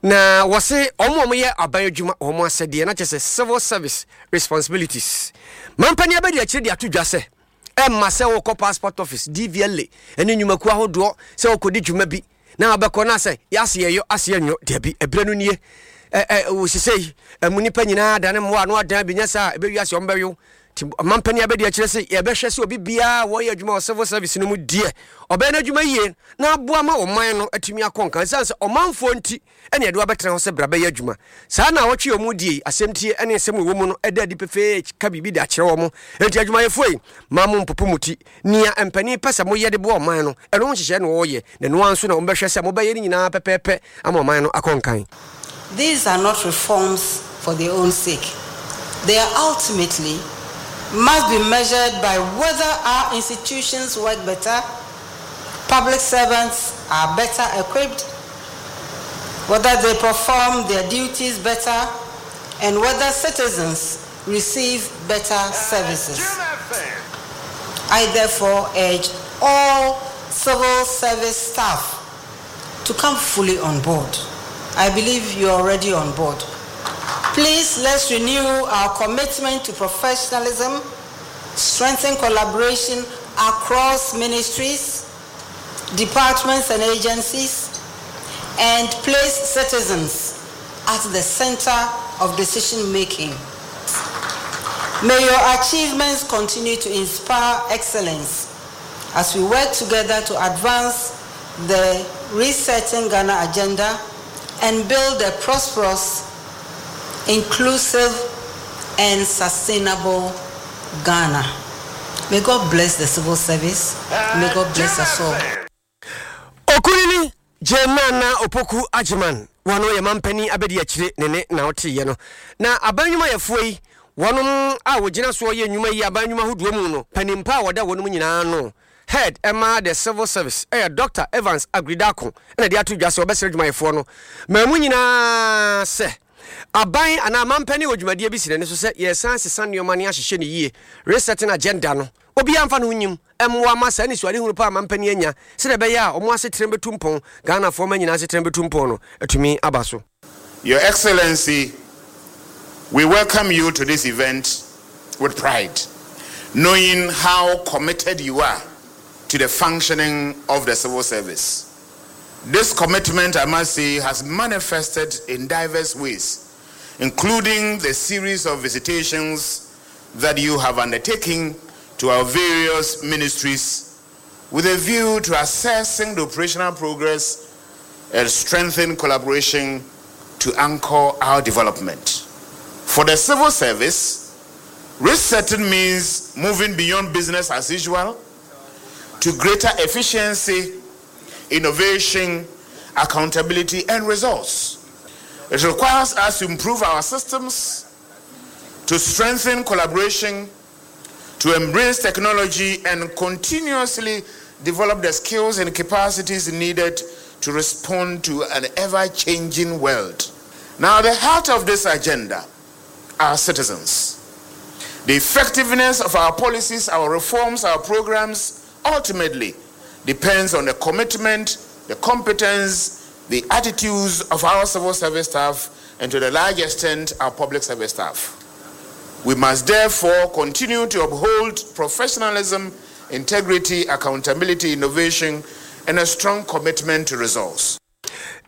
Na wɔse wɔn a wɔyɛ aban adwuma wɔn asɛdeɛ na kyerɛ sɛ civil service responsibilities. Mampanin abɛdi akyire de ato dwa sɛ ɛmma sɛ wokɔ passport office, DVLA ne nnwumakuo ahodoɔ sɛ wokɔdi dwuma bi na wabɛkɔ na sɛ yɛase yɛyɔ ase yɛnyɔ dabi ɛberɛ no nie ɛ ɛ wɔ sesei ɛmu nipa nyinaa dane mmoa ano adan bi nyɛ saa ɛbɛwi ase wɔn bɛyo nti mampanin abɛdi akyire sɛ yɛbɛhwɛ sɛ obi biara wɔyɛ adwuma wɔ civil service no mu deɛ ɔbɛyɛ n'adwuma yie na aboa ma ɔman no atumi akɔ nkan ɛsiane sɛ ɔmanfoɔ nti ɛne ɛde wabɛtena hɔ sɛ bra bɛyɛ adwuma. Saa naawɔtwe a wɔredie yi, asɛmtie ne nsɛm a ɛwɔ mu no da adi pefee ka biribi de akyerɛ wɔn. Enti adwumayɛfoɔ yi, mma mo mpopo mo ti. Nea mpanin pɛ sɛ moyɛ de boa ɔman no, ɛno ho nhyehyɛe na wɔreyɛ, na ɛno ara nso na wɔbɛhwɛ sɛ mobɛyɛ ne nyinaa pɛpɛɛpɛ ama ɔman no akɔ nkan. These are not reforms for their own sake. They are ultimately must be measured by whether our institutions work better, public servants are better equipped, whether they perform their duties better, and whether citizens receive better services. I therefore urge all civil service staff to come fully on board. I believe you're already on board. Please let's renew our commitment to professionalism, strengthen collaboration across ministries, departments and agencies, and place citizens at the center of decision making. May your achievements continue to inspire excellence as we work together to advance the Resetting Ghana agenda and build a prosperous, inclusive, and sustainable Ghana. May God bless the civil service. May God bless us all. Okunini Jane Nana Opoku Agyeman, wɔno yɛ mampanin abadiakyire ne ne na ɔteeɛ no. Na aban nnwumayɛfoɔ yi, wɔnom a wɔgyina soɔ yɛ nnwuma yi aban nnwuma ahodoɔ mu no, panin pa a wɔda wɔnom nyinaa ano, Head ma the Civil Service, yɛ Dɔkta Evans Aggrey-Darko na ɛde ato dwa sɛ wɔbɛsrɛ adwumayɛfoɔ no maa mu nyinaa sɛ aban anaa mampanin wɔ dwumadie bi si n'ani so sɛ yɛresan asesa nneɛma ne ahyehyɛ no yie, resetting agenda no, obiara mfa ne ho nyim mmoa ma saa anisoadehunu pa a mampanin anya sɛdeɛ ɛbɛyɛ a wɔn asetena bɛtu mpɔn, Ghanafoɔ mma nyinaa asetena bɛtu mpɔn no atumi aba so. Your Excellency, we welcome you to this event with pride, knowing how committed you are to the functioning of the civil service. This commitment, I must say, has manifested in diverse ways, including the series of visitations that you have undertaken to our various ministries with a view to assessing the operational progress and strengthen collaboration to anchor our development. For the civil service, resetting means moving beyond business as usual to greater efficiency, innovation, accountability, and results. It requires us to improve our systems, to strengthen collaboration, to embrace technology, and continuously develop the skills and capacities needed to respond to an ever changing world. Now, the heart of this agenda are citizens. The effectiveness of our policies, our reforms, our programs ultimately depends on the commitment, the competence, the attitudes of our civil service staff, and to the large extent, our public service staff. We must therefore continue to uphold professionalism, integrity, accountability, innovation, and a strong commitment to results.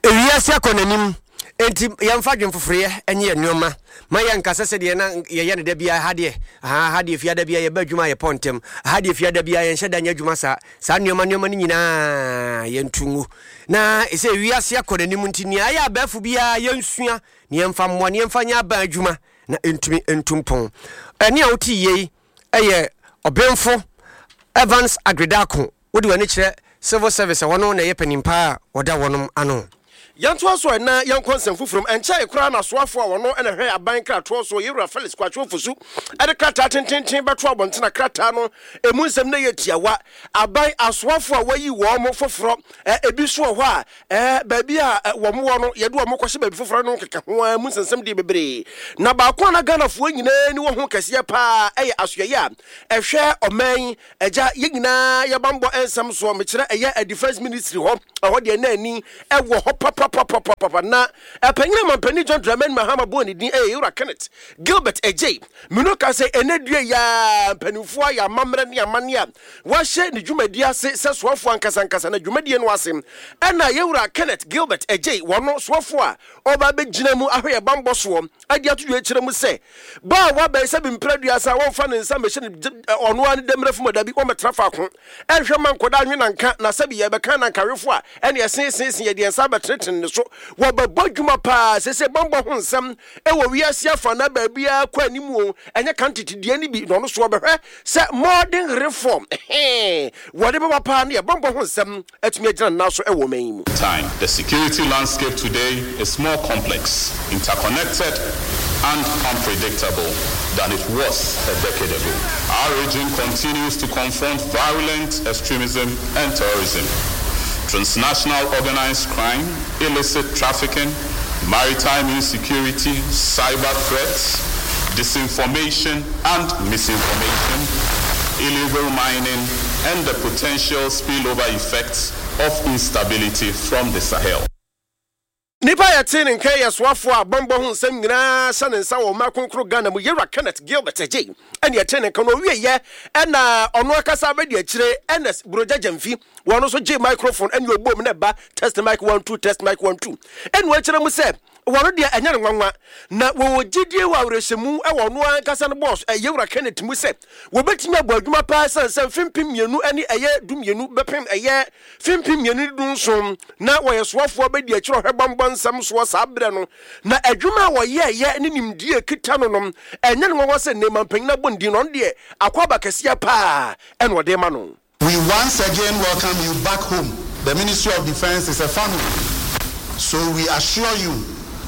Ewiase akɔ n'anim, enti yɛmfa adwene foforoyɛ nyɛ yɛn nneɛma. Ma yɛnka sɛ sɛdeɛ na yɛyɛ no da biara, ha deɛ, ahaa, ha deɛ fiada biara yɛba adwuma a yɛpɔ ntɛm, ha deɛ fiada biara yɛnhyɛ da nyɛ adwuma saa. Saa nneɛma nneɛma no nyinaa yɛnto ngu. Na sɛ wiase akɔ n'anim nti, nea ɛyɛ abɛɛfo biara yɛnsua na yɛmfa mmoa na yɛmfa nyɛ aban adwuma na ɛntumi ntu mpɔn. Ɛnne a wote yei yɛ Ɔbenfo Evans Aggrey-Darko. Wode w'ani kyerɛ Civil Service a wɔno na ɛyɛ panin paa a wɔda wɔnom ano. Yɛntoa so ɛ na yɛnkɔ nsɛm foforɔ mu. Ɛnkyɛe koraa na soafoɔ a ɔno na ɛhwɛ aban nkratoɔ soɔ, Yewura Felix Kwakye Ofosu de krataa tenteenten bɛto abɔnten a krataa no ɛmu nsɛm no yɛ tiawa. Aban asoafoɔ a wɔayi wɔn foforɔ, ebi nso wɔ hɔ a baabi a wɔn wɔ no yɛde wɔn kɔhyɛ baabi foforɔ no nkeka ho ara mu nsɛnsɛm deɛ bebree. Na baako a na Ghanafoɔ nyinaa ani wɔ ho kɛseɛ paa yɛ asoɛeɛ a ɛhwɛ ɔman yi Agya, yɛn nyinaa yɛ bammɔ nsɛm soɔ, mekyerɛ ɛyɛ Defence Ministry hɔ, ɛhɔ deɛ na ani wɔ hɔ papapapa. papapapapapa na ɛpanyin a Mampanin John Dramani Mahama bɔɔ ne din ɛyɛ Yewura Kenneth Gilbert Adjei. Mino ka sɛ ɛnɛ dua yi ara mpanimfoɔ ayɛ amammerɛ ne amanneɛ a wɔahyɛ ne dwumadie ase sɛ soafoɔ ankasa ankasa na dwumadie no ase ɛna Yewura Kenneth Gilbert Adjei wɔno soafoɔ a ɔreba abɛgyina mu ahwɛ yɛn bammɔ soɔ adi ato dwa akyerɛ mu sɛ ba a waba yi sɛ bi mpere aduasa a wɔmfa ne nsa mmɛhyɛ ne ɔno ara ne dɛmmerɛ fam dabi wɔmmɛtena faako ɛnhwɛ ma nkɔda anwe nanka na sɛbi yɛbɛka nankawefo a ɛne ɛseeseese yɛde yɛn nsa abɛtenetene ne so wɔbɛbɔ adwuma paa sese bammɔ ho nsɛm ɛwɔ wiase afa na baabiara kɔ anim o ɛnyɛ kan tete deɛ no bi na ɔno so ɔbɛhwɛ sɛ modern reform ɛhee wɔde bɛba paa ne yɛ bammɔ ho nsɛm atumi agyina ne nan so wɔ ɔman yi mu. Time. The security landscape today is more complex, interconnected, and unpredictable than it was a decade ago. Our region continues to confront violent extremism and terrorism, transnational organized crime, illicit trafficking, maritime insecurity, cyber threats, disinformation and misinformation, illegal mining, and the potential spillover effects of instability from the Sahel. Nipa a yɛtee ne nka yi yɛ soafoɔ a bammɔ ho nsɛm nyinaa hyɛ ne nsa wɔ ɔman kronkron Ghana mu, Yewura Kenneth Gilbert Adjei ɛna yɛtee ne nka no. Ɔwieɛ ɛna ɔno ankasa abɛdi akyire, Ernest Brogya Gyamfi, wɔn nso gyee microphone ɛne ɔbom na ɛba test mic one two test mic one two ɛna ɔkyerɛ mu sɛ Wɔn deɛ, ɛnyɛ no nwanwa. Na wɔwɔ gyidie wɔ awerɛhyɛmu wɔ ɔno ara ankasa ne bɔs, Yewura Kenneth mu sɛ wɔbɛtumi abɔ adwuma paa ɛsiane sɛ mfe 2012 bɛpem ɛyɛ mfe 2017 na wɔyɛ soafoɔ abɛdi akyire ɔhwɛ bammɔ nsɛm soɔ saa berɛ no na adwuma a wɔyɛɛyɛ ne nimdeɛ a ɛkita no no ɛnyɛ no nwanwa sɛ nnɛ manpanin abɔ ne din no ɔno deɛ akwaaba kɛseɛ paa ɛna ɔde rema no. We once again welcome you back home. The Ministry of Defence is a family, so we assure you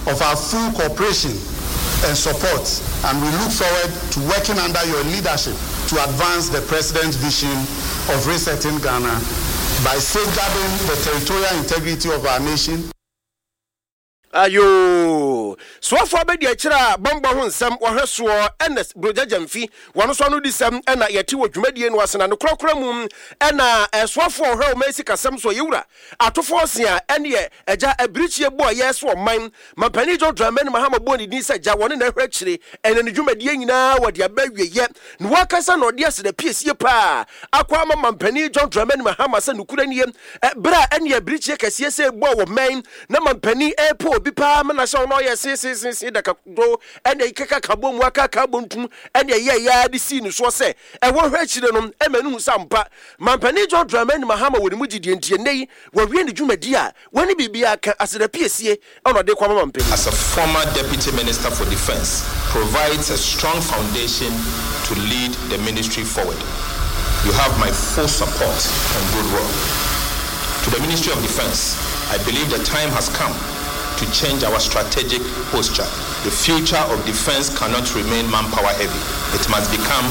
of our full cooperation and support, and we look forward to working under your leadership to advance the President's vision of resetting Ghana by safeguarding the territorial integrity of our nation, Ayoo! Soafoɔ abadiakyire a bɔmbɔ ho nsɛm wɔhwɛ soɔ Ernest Brogya Gyamfi, wɔn nso anodisɛm na yɛte wɔ dwumadie no ase na ne korakora mu na soafoɔ a ɔhwɛ ɔman sikasɛm soɔ Yewura Atofo Ɔsea ɛneɛ Agya Abirikyie Boayɛ so ɔman Mampanin John Dramani Mahama bɔɔ ne din sɛ Agya wɔne na ɛhwɛ akyire ɛna ne dwumadie nyinaa wɔde aba awieɛ na wakasa na ɔde aseda piesie paa akɔ ama Mampanin John Dramani Mahama sɛ nokorɛ nie Bere a ɛne abirikyie kɛseɛ sɛ bɔɔ wɔ mmɛn na mampanin ɛrepo obi paa ma n'ahyɛ ɔno ɔyɛ seeseeseesee dakado ɛne ɛkeka ka bɔ mu akaka abɔntum ɛne ɛyɛ ɛyɛ de sii ne soɔ sɛ ɛwɔ hwɛ akyire no ɛma no hu sɛ ampa mampanin John Dramani Mahama wɔ ne mu gyidie nti ɛnnɛ yi wawie ne dwumadi a wɔne biribiara ka aseda piesie ɛna ɔde kɔ ama mampanin. As a former Deputy Minister for Defence provides a strong foundation to lead the ministry forward. You have my full support and goodwill. To the Ministry of Defence, I believe the time has come to change our strategic posture. The future of defence cannot remain manpower heavy. It must become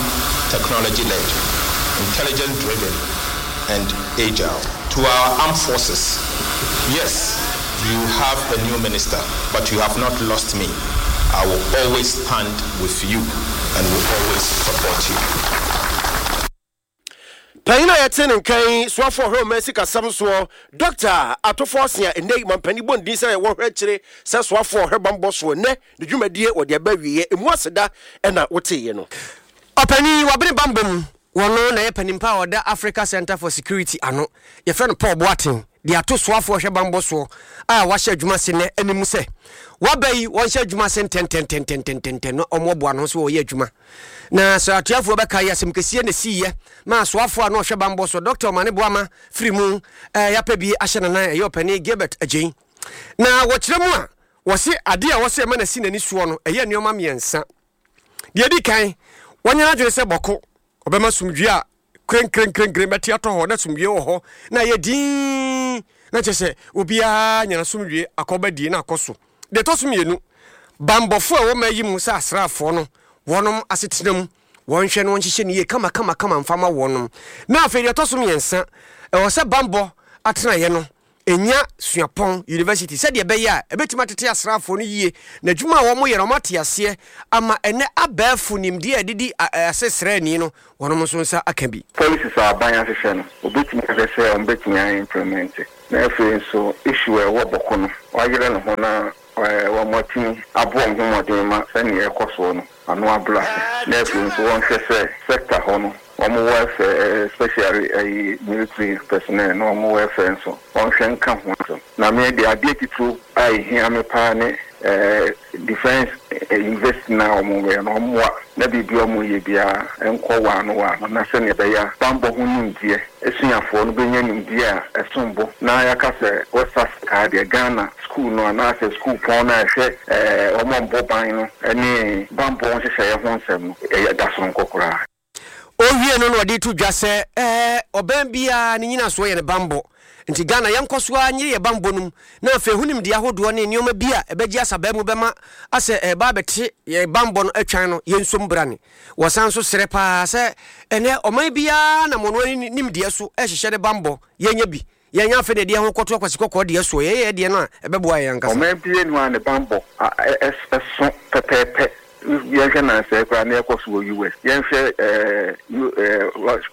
technology led, intelligence driven, and agile. To our armed forces, yes, you have a new minister, but you have not lost me. I will always stand with you and will always support you. Panyin a yɛte ne nka yi, soafo ɔhwɛ ɔman sikasɛm soɔ, Dɔkta Atofo Ɔsea, ɛnnɛ yi mampanin bɔ ne din sɛ wɔhwɛ akyire sɛ soafo ɔhwɛ bammɔ soɔ. Nnɛ ne dwumadie wɔde aba awieɛ, emu aseda na woteeɛ no. Ɔpanyin, wabene bammɔ mu, Wɔno na ɛyɛ panin pa a ɔda Africa Centre for Security ano, yɛfrɛ no Paul Boateng, de ato soafoɔ hwɛ bammɔ soɔ a wahyɛ adwuma ase nnɛ anim sɛ waba yi wɔnhyɛ adwuma ase ntɛntɛntɛntɛntɛntɛn na wɔmmoaboa ne ho so wɔyɛ adwuma. Na sɛ atuafoɔ bɛka yi asɛm kɛseɛ na ɛsiiɛ ma soafoɔ a na ɔhwɛ bammɔ soɔ Dr. Omane Boama firi mu eh, yɛapɛ bi ahyɛ nanan ɛyɛ ɔpanin Gilbert Agyei. Na wɔkyerɛ mu a wɔse adeɛ a wɔsɛ ɛma no asi n'ani soɔ no ɛyɛ nneɛma mmiɛnsa. Deɛ ɛdi kan, wanya n'adwene sɛ bɔko, ɔbɛma somdwie a krenkrenkrenkren bɛte atɔ hɔ na somdwie wɔ hɔ na ayɛ dinn na kyerɛ sɛ obiara nya n'asomdwie akɔba die na akɔ so. Deɛ ɛtɔ so mmienu, banbɔfoɔ a ɛwɔ mmaa yi mu sɛ asraafoɔ no, wɔnom asetena mu, wɔnhwɛ na wɔnhyehyɛ no yie kamakamakama mfa ma wɔnom. Na afei deɛ ɛtɔ so mmiɛnsa, ɛwɔ sɛ banbɔ atenaeɛ no nya suapɔn, university, sɛdeɛ ɛbɛyɛ a ɛbɛtumi atete asraafoɔ no yie na adwuma a wɔyɛ no wɔate aseɛ ama ɛnɛ abɛɛfo nimdeɛ a ɛde di ase sraani no wɔnom nso nsa aka bi. Policies a aban ahyehyɛ no, wɔbɛtumi ahwɛ sɛ wɔbɛtumi a implement. Na afei nso issue a ɛwɔ Bɔko no wayere ne ho na wɔatumi abɔ wɔn ho mmɔden ma sɛnea ɛrekɔ soɔ no ano abrɛ ase. Na afei nso wɔnhwɛ sɛ sector hɔ no wɔn welfare especially ɛyi military personnel no wɔn welfare nso wɔnhwɛ nka ho asɛm. Na me deɛ adeɛ titiriw a ɛhia me paa ne Defence University no a wɔyɛ no, wɔmmoa na biribi a wɔyɛ biara nkɔ waano waano na sɛnea ɛbɛyɛ a bammɔ ho nimdeɛ, asuafoɔ no bɛnya nimdeɛ a ɛsom bo na yɛaka sɛ West Africa ha deɛ Ghana sukuu no anaasɛ sukuupɔn no a ɛhwɛ wɔn a wɔbɔ ban no ne bammɔ nhyehyɛeɛ ho nsɛm no, ɛda sononko koraa. Ɔwie no na ɔde to dwa sɛ ɛɛ ɔbɛn biara ne nyinasoɔ yɛ ne banbɔ. Nti Ghana yɛnkɔ so ara nyere yɛ banbɔ no mu na afei ho nimdeɛ ahodoɔ ne nneɛma bi a ɛbɛgye asabaa mu bɛma asɛ ɛreba abɛte yɛn banbɔ no atwan no yɛnsom brane. Wɔsan nso srɛ paa sɛ ɛnɛ ɔman biara nam ɔno ara ne nimdeɛ so rehyehyɛ ne banbɔ, yɛnyɛ bi. Yɛnyɛ afei na yɛde yɛn ho kɔto akwasi kɔkɔɔ deɛ soɔ, yɛyɛ yɛn deɛ no a ɛbɛboa yɛn ankasa. Ɔman biara nni hɔ a ne banbɔ so pɛpɛɛpɛ. Yɛnhwɛ nnansa yi koraa nea ɛrekɔ so wɔ US. Yɛnhwɛ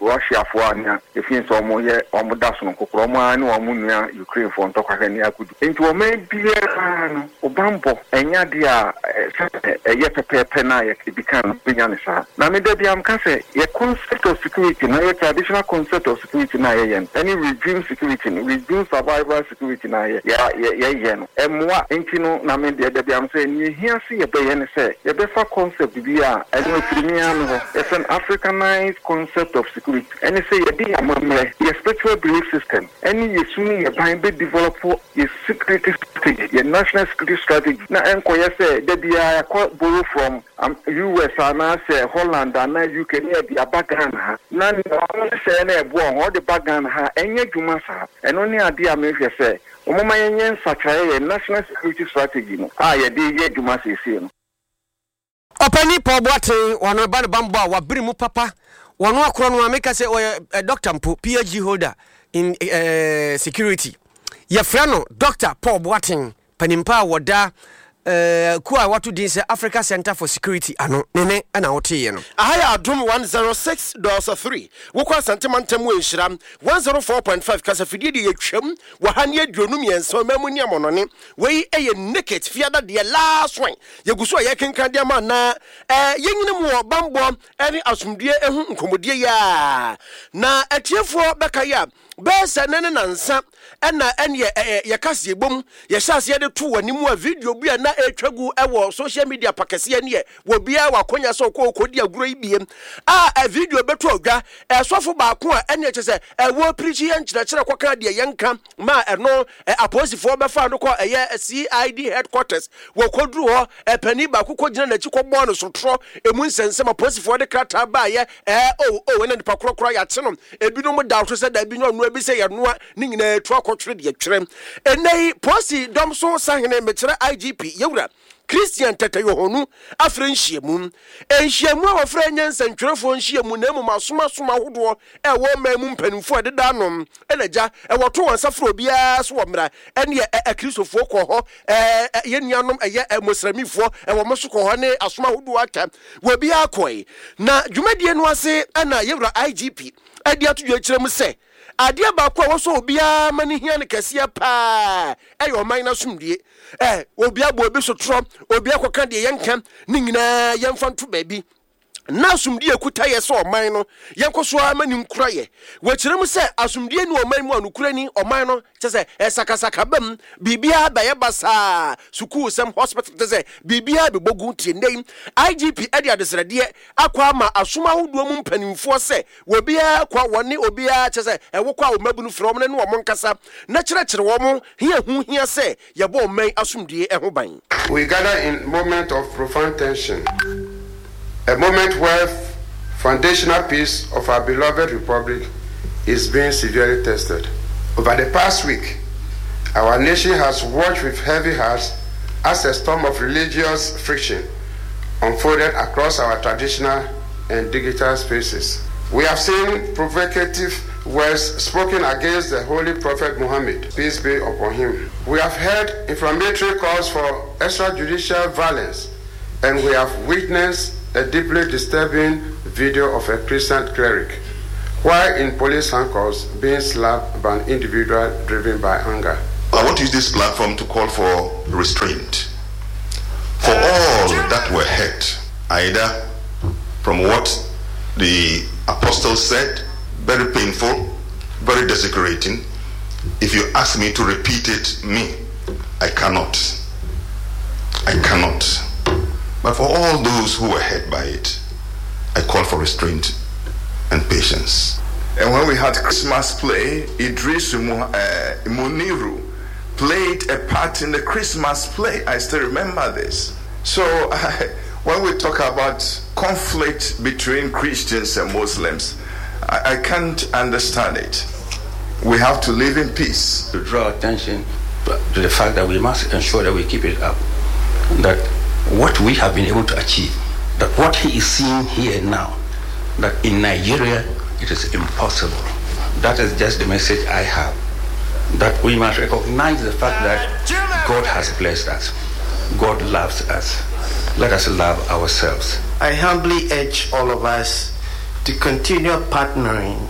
Russiafoɔ a nea ɛfiri sɛ wɔyɛ wɔn da sononko koraa, wɔn ara ne wɔn nua Ukrainefoɔ ntɔkwa hwɛ nea akodu. Enti ɔman biara no, wo banbɔ nyɛ adeɛ a sɛdeɛ ɛyɛ pɛpɛɛpɛ no a yɛdi kan no bɛnya no saa. Na me da biara meka sɛ yɛ concept of security no, yɛ traditional concept of security no a yɛyɛ no, ɛne regime security no, regime survival security no a yɛyɛ no, ɛmmoa. Enti no, na me deɛ da biara mesɛ nea ɛhia sɛ yɛbɛyɛ ne sɛ yɛbɛfa concept bi a ɛno ɛfiri me ara me hɔ, yɛfrɛ no Africanized concept of security. Ɛne sɛ yɛde yɛn amammerɛ, yɛ spiritual belief system, ɛne yɛ su ne yɛ ban bɛ develop yɛ security strategy, yɛ national security strategy, na ɛnkɔyɛ sɛ da biara yɛakɔ borrow from US anaasɛ Holland anaa UK na yɛde aba Ghana ha, na nea wɔn nhyehyɛeɛ no a ɛboa wɔn wɔde ba Ghana ha a, ɛnyɛ adwuma saa. Ɛno ne adeɛ a mehwɛ sɛ wɔmma yɛnyɛ nsakyeraeɛ yɛn national security strategy no a yɛde reyɛ adwuma seesei no. Ɔpanin Paul Boateng, ɔno ɛba ne banbɔ a wabere mu papa, ɔno akorɔ no a meka sɛ ɔyɛ doctor mpo, PhD holder in eh, security. Yɛfrɛ no Doctor Paul Boateng, panimpa a wɔda eh, kuo a wɔato din sɛ Africa Center for Security ano, ne ne ɛna woteeɛ no. Aha yɛ Adom 106.3, wokɔ Asante mantam mu a nhyira 104.5, kasafidie deɛ yɛtwam wɔ ha ne 23, ɔman mu ne amɔnɔne. Wei yɛ Naked Fiada deɛ last one. Yɛgu so a yɛrekenkan de ama na yɛnyini mu wɔ bammɔ ne asomdwoeɛ ho nkɔmmɔdie yi a. Na atiefoɔ bɛkae a, bɛyɛ sɛ nnɛ ne nansa ɛna ɛneɛ yɛka sɛ yɛbom yɛhyɛ aseɛ de to w'anim a video bi a na ɛretwa gu wɔ social media pa kɛseɛ neɛ wɔ biara wɔ akɔnya sɛ ɔkɔ ɔkɔdi agorɔ yi bie a video bɛto odwa ɛsɔfo baako a ɛneɛ kyɛ sɛ ɛwɔ pirikyi yɛ nkyerɛkyerɛ kɔka deɛ yɛnka ma ɛno apolisifoɔ bɛfaa no kɔ ɛyɛ CID headquarters. Wɔkɔduru hɔ, panin baako kɔgyina n'akyi kɔbɔɔ no sotorɔ. Emu nsɛnsɛm, apolisifoɔ de krataa baeɛ, ɛɛ o o, ɛna nipa korɔ koraa yɛakye no. Ebinom da so sɛ daabi nyɛ ɔnoa, ebi sɛ yɛnoa, ne nyinaa etu akɔtwere deɛ twerɛ. Ɛnnɛ yi, polisi dɔm so sahene, mekyerɛ IGP, Yɛwura Christian Tetteh Yohonu afrɛ nhyiamu. Nhyiamu a wɔfrɛ nyɛ nsɛntwerɛfoɔ nhyiamu na mmom asomasom ahodoɔ a ɛwɔ ɔman mu mpanimfoɔ a ɛdeda ano na gya wɔto wɔn nsa frɛ obiara so wɔ mmara ɛne ɛ akristofoɔ kɔ hɔ ɛ yɛn nuanom ɛyɛ ɛ mosramifoɔ ɛwɔ mo so kɔ hɔ ne asom ahodoɔ aka wɔ obiara kɔe na dwumadie no ase ɛna yɛwura IGP ɛde ato dwa kyerɛ mu sɛ adeɛ baako a wɔsɔ obiara ma ne hia no kɛseɛ paa ɛyɛ ɔman no asomdue ɛ obi abɔ obi sotorɔ obi akɔka deɛ yɛnka ne nyinaa yɛmfa nto baabi na asomdue ekuta yɛ sɛ ɔman no, yɛnkɔ so ara ma no nkura yɛ. Wɔkyerɛ mu sɛ asomdue nni ɔman mu a nokorɛ ni, ɔman no, kyerɛ sɛ, ɛsakasaka ba mu, biribiara bɛyɛ basaa, sukuusɛm, hospital, kyerɛ sɛ, biribiara bɛbɔ gu. Nti ɛnnɛ yi, IGP de adesrɛdeɛ akɔ ama asom ahodoɔ mu mpanimfoɔ sɛ obiara kɔ a wɔne obiara, kyerɛ sɛ, ɛwokɔ a wo mmabunu frɛ wɔn ne wɔn nkasa na kyerɛkyerɛ wɔn hia ho hia sɛ yɛbɔ ɔman asomdue ho ban. We gather in moment of profound tension, a moment where foundational peace of our beloved republic is being severely tested. Over the past week, our nation has watched with heavy hearts as a storm of religious friction unfolded across our traditional and digital spaces. We have seen provocative words spoken against the Holy Prophet Muhammad, peace be upon him. We have heard inflammatory calls for extrajudicial violence, and we have witnessed a deeply disturbing video of a Christian cleric while in police handcuffs being slapped by an individual driven by anger. I want to use this platform to call for restraint for all that were hurt, either from what the apostle said, very painful, very desecrating. If you ask me to repeat it, me, I cannot. I cannot. But for all those who were hurt by it, I call for restraint and patience. And when we had Christmas play, Idris Muniru played a part in the Christmas play. I still remember this. So when we talk about conflict between Christians and Muslims, I, I can't understand it. We have to live in peace. To draw attention to the fact that we must ensure that we keep it up. That what we have been able to achieve, that what he is seeing here now, that in Nigeria it is impossible. That is just the message I have. That we must recognize the fact that God has blessed us. God loves us. Let us love ourselves. I humbly urge all of us to continue partnering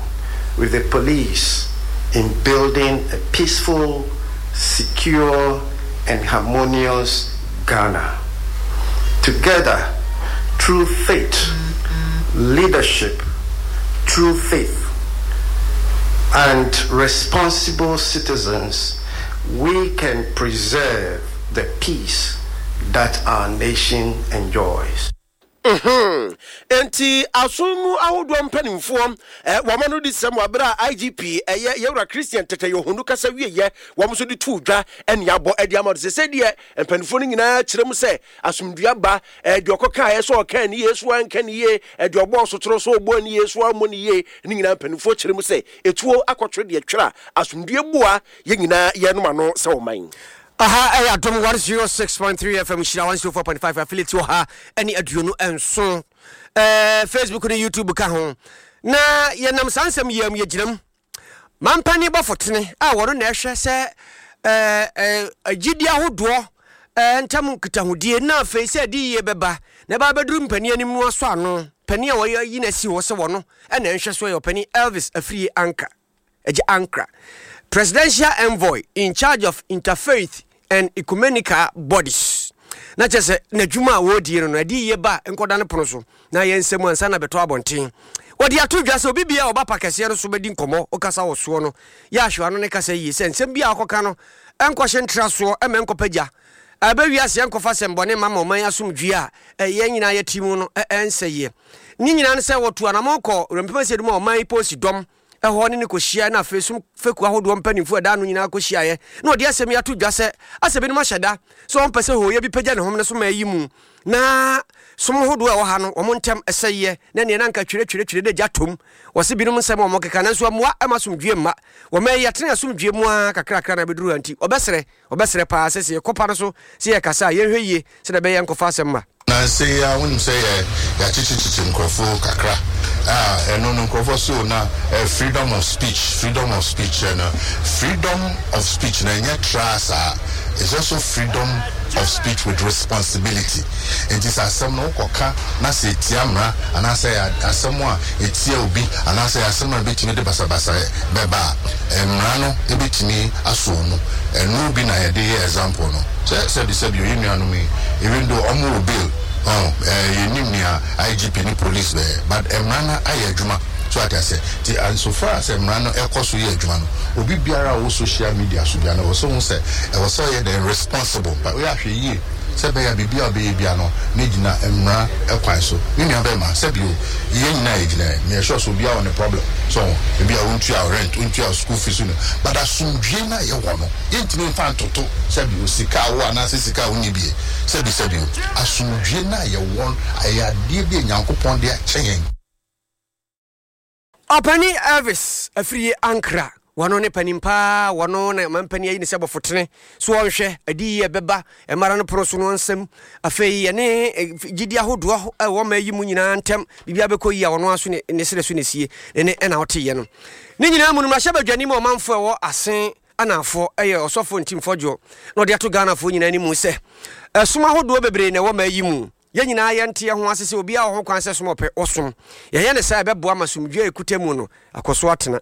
with the police in building a peaceful, secure, and harmonious Ghana. Together, through faith, leadership, true faith, and responsible citizens, we can preserve the peace that our nation enjoys. Mm-hmm. Enti asom mu ahodoɔ mpanimfoɔ eh, wɔn ano di sɛm wɔ abere a IGP ɛyɛ eh, yɛwura Christian Tete Yohunu kasa wieɛ wɔn nso de too dwa ɛne abɔ ɛde ama no sɛ sɛdeɛ mpanimfoɔ no nyinaa kyerɛ mu sɛ asomdua ba eh, deɛ ɔkɔkaeɛ sɛ ɔka ne yie so anka ne yie eh, deɛ ɔbɔɔ sotoro so ɔbɔɔ ne yie so ammɔ ne yie ne nyinaa mpanimfoɔ kyerɛ mu sɛ etuo akɔtwere deɛ twerɛ a asomdue boa yɛn nyinaa yɛnom ano sɛ ɔman. Aha ɛyɛ Adom 106.3 FM Nhyira 104.5 affiliate wɔ ha ɛne 27 ɛɛ Facebook ne YouTube ka ho na yɛnam saa nsɛm yɛm yɛgyinam mampani bɔfo tene a wɔno na ɛhwɛ sɛ ɛɛ ɛɛ gyidi ahodoɔ ɛɛ ntam nkitahodie na afei sɛ ɛde yie bɛba na ɛba bɛduru mpanin anim no asɔ ano panin a wɔyi no asi hɔ sɛ wɔno ɛna ɛnhwɛ so yɛ ɔpanin Elvis Afriyie Anka Agya Ankrah, Presidential Envoy in charge of Interfaith and Ecumenical Bodies. Na kyerɛ sɛ n'adwuma a wɔredie no no, ɛde yie ba nkɔda no pono so na yɛ nsɛm ansa na bɛtɔ abɔnten. Wɔde ato dwa sɛ obi bia a ɔba pa kɛseɛ no so bɛdi nkɔmmɔ, ɔkasa wɔ soɔ no, yɛ ahwɛ ano ne kasa yie sɛ nsɛm bi a ɔkɔka no ɛnkɔhye ntra soɔ ɛma ɛnkɔpɛ gya. Ɛbɛ wiase ɛnkɔfa sɛmbɔne mma ma ɔman asomdwie a yɛn nyinaa yɛte mu no ɛnsɛeɛ. Ne nyinaa ne sɛ wɔtu anamɔn kɔ Wurampem Asiedu ma ɔman yi polisi dɔm hɔ ne no kɔhyiaeɛ na afei som fekuo ahodoɔ mpanimfoɔ a ɛda ano nyinaa kɔhyiaeɛ na wɔde asɛm yi ato dwa sɛ asɛ binom ahyɛ da sɛ wɔmpɛ sɛ hooyɛ bi pagya ne homene so ma ayi mu na som hodoɔ a ɛwɔ ha no wɔn ntɛm ɛsɛeɛ na neɛ na anka twerɛtwerɛtwerɛ na gya tom wɔse binom nsɛm a wɔkeka nanso ammua ɛma asomdwoeɛ mma wɔma yi atene asomdwoeɛ mu ara kakrakra na abɛduru ha nti wɔbɛsrɛ Wɔbɛsrɛ paa sɛ sɛ yɛkɔ pa no so sɛ yɛrekasa a, yɛnhwɛ yie sɛdeɛ ɛbɛyɛ yɛnkɔfa asɛm mma. Nansa yi ara wonim sɛ yɛ yɛakyekyekyekye nkurɔfo kakra a ɛno no nkurɔfoɔ se o na eh, freedom of speech freedom of speech ɛno freedom of speech no ɛnyɛ traa saa it's also freedom of speech with responsibility nti sɛ asɛm no wokɔka na sɛ ɛtia mmara anaasɛ ɛyɛ asɛm a ɛtia obi anaasɛ ɛyɛ asɛm a ɛbɛtumi de basabasayɛ bɛba a, mmara no bɛtumi asɔ wo mu. Ɛno bi na yɛde yɛ example no. Sɛ sɛbi sɛbi o, yɛn nuanom yi, even though wɔn wɔ bail, ɔn, ɛɛ yɛnnim nea IGP ne police bɛyɛ, but mmara no ayɛ adwuma. So ate aseɛ? Nti and so far as mmara no ɛkɔ so yɛ adwuma no, obi biara a ɔwɔ social media so biara no, ɛwɔ sɛ ohu sɛ ɛwɔ sɛ ɔyɛ dɛn? Responsible. But woyɛ ahwɛ yie. Sɛ ɛbɛyɛ a biribiara a ɔbɛyɛ biara no, na egyina mmara kwan so. Me nua bɛrima, sɛbi o, yɛn nyinaa yɛgyina ɛ. Meyɛ sure sɛ obiara wɔ ne problem. So ho? Ebia wontua wo rent, wontua wo school fees, wonni, but asomdwoe no a yɛwɔ no, yɛntumi mfa ntoto sɛbi o, sika a wowɔ anaasɛ sika a wonni bi ɛ. Sɛbi sɛbi o, asomdwoe no a yɛwɔ no, ɛyɛ adeɛ bi a Nyankopɔn de akyɛ yɛn. Ɔpanin Elvis Afriyie Ankrah, wɔno ne panin paa, wɔno na mampanin ayi ne sɛ bɔfotene so ɔnhwɛ adiyie a ɛbɛba mmara no pono so no nsam. Afei yɛne eh, gyidi ahodoɔ a ɛwɔ ma yi mu nyinaa ntɛm biribiara bɛkɔ yie a ɔno ara so ne ne serɛ so na esie ne ne ɛna ɔteyɛ no. Ne nyinaa mu no mmarahyɛ badwani ma ɔmanfoɔ ɛwɔ Asen Anafoɔ ɛyɛ ɔsɔfo Ntim Fɔdwoɔ na ɔde ato Ghanafoɔ nyinaa anim sɛ ɛsom ahodoɔ bebree na ɛwɔ ma yi mu. Yɛn nyinaa yɛnte yɛn ho ase sɛ obiara wɔ ho kwan sɛ som a ɔpɛ, ɔsom. Yɛyɛ no saa a, ɛbɛboa ma asomdwoe a ɛkuta mu no akɔ so atena.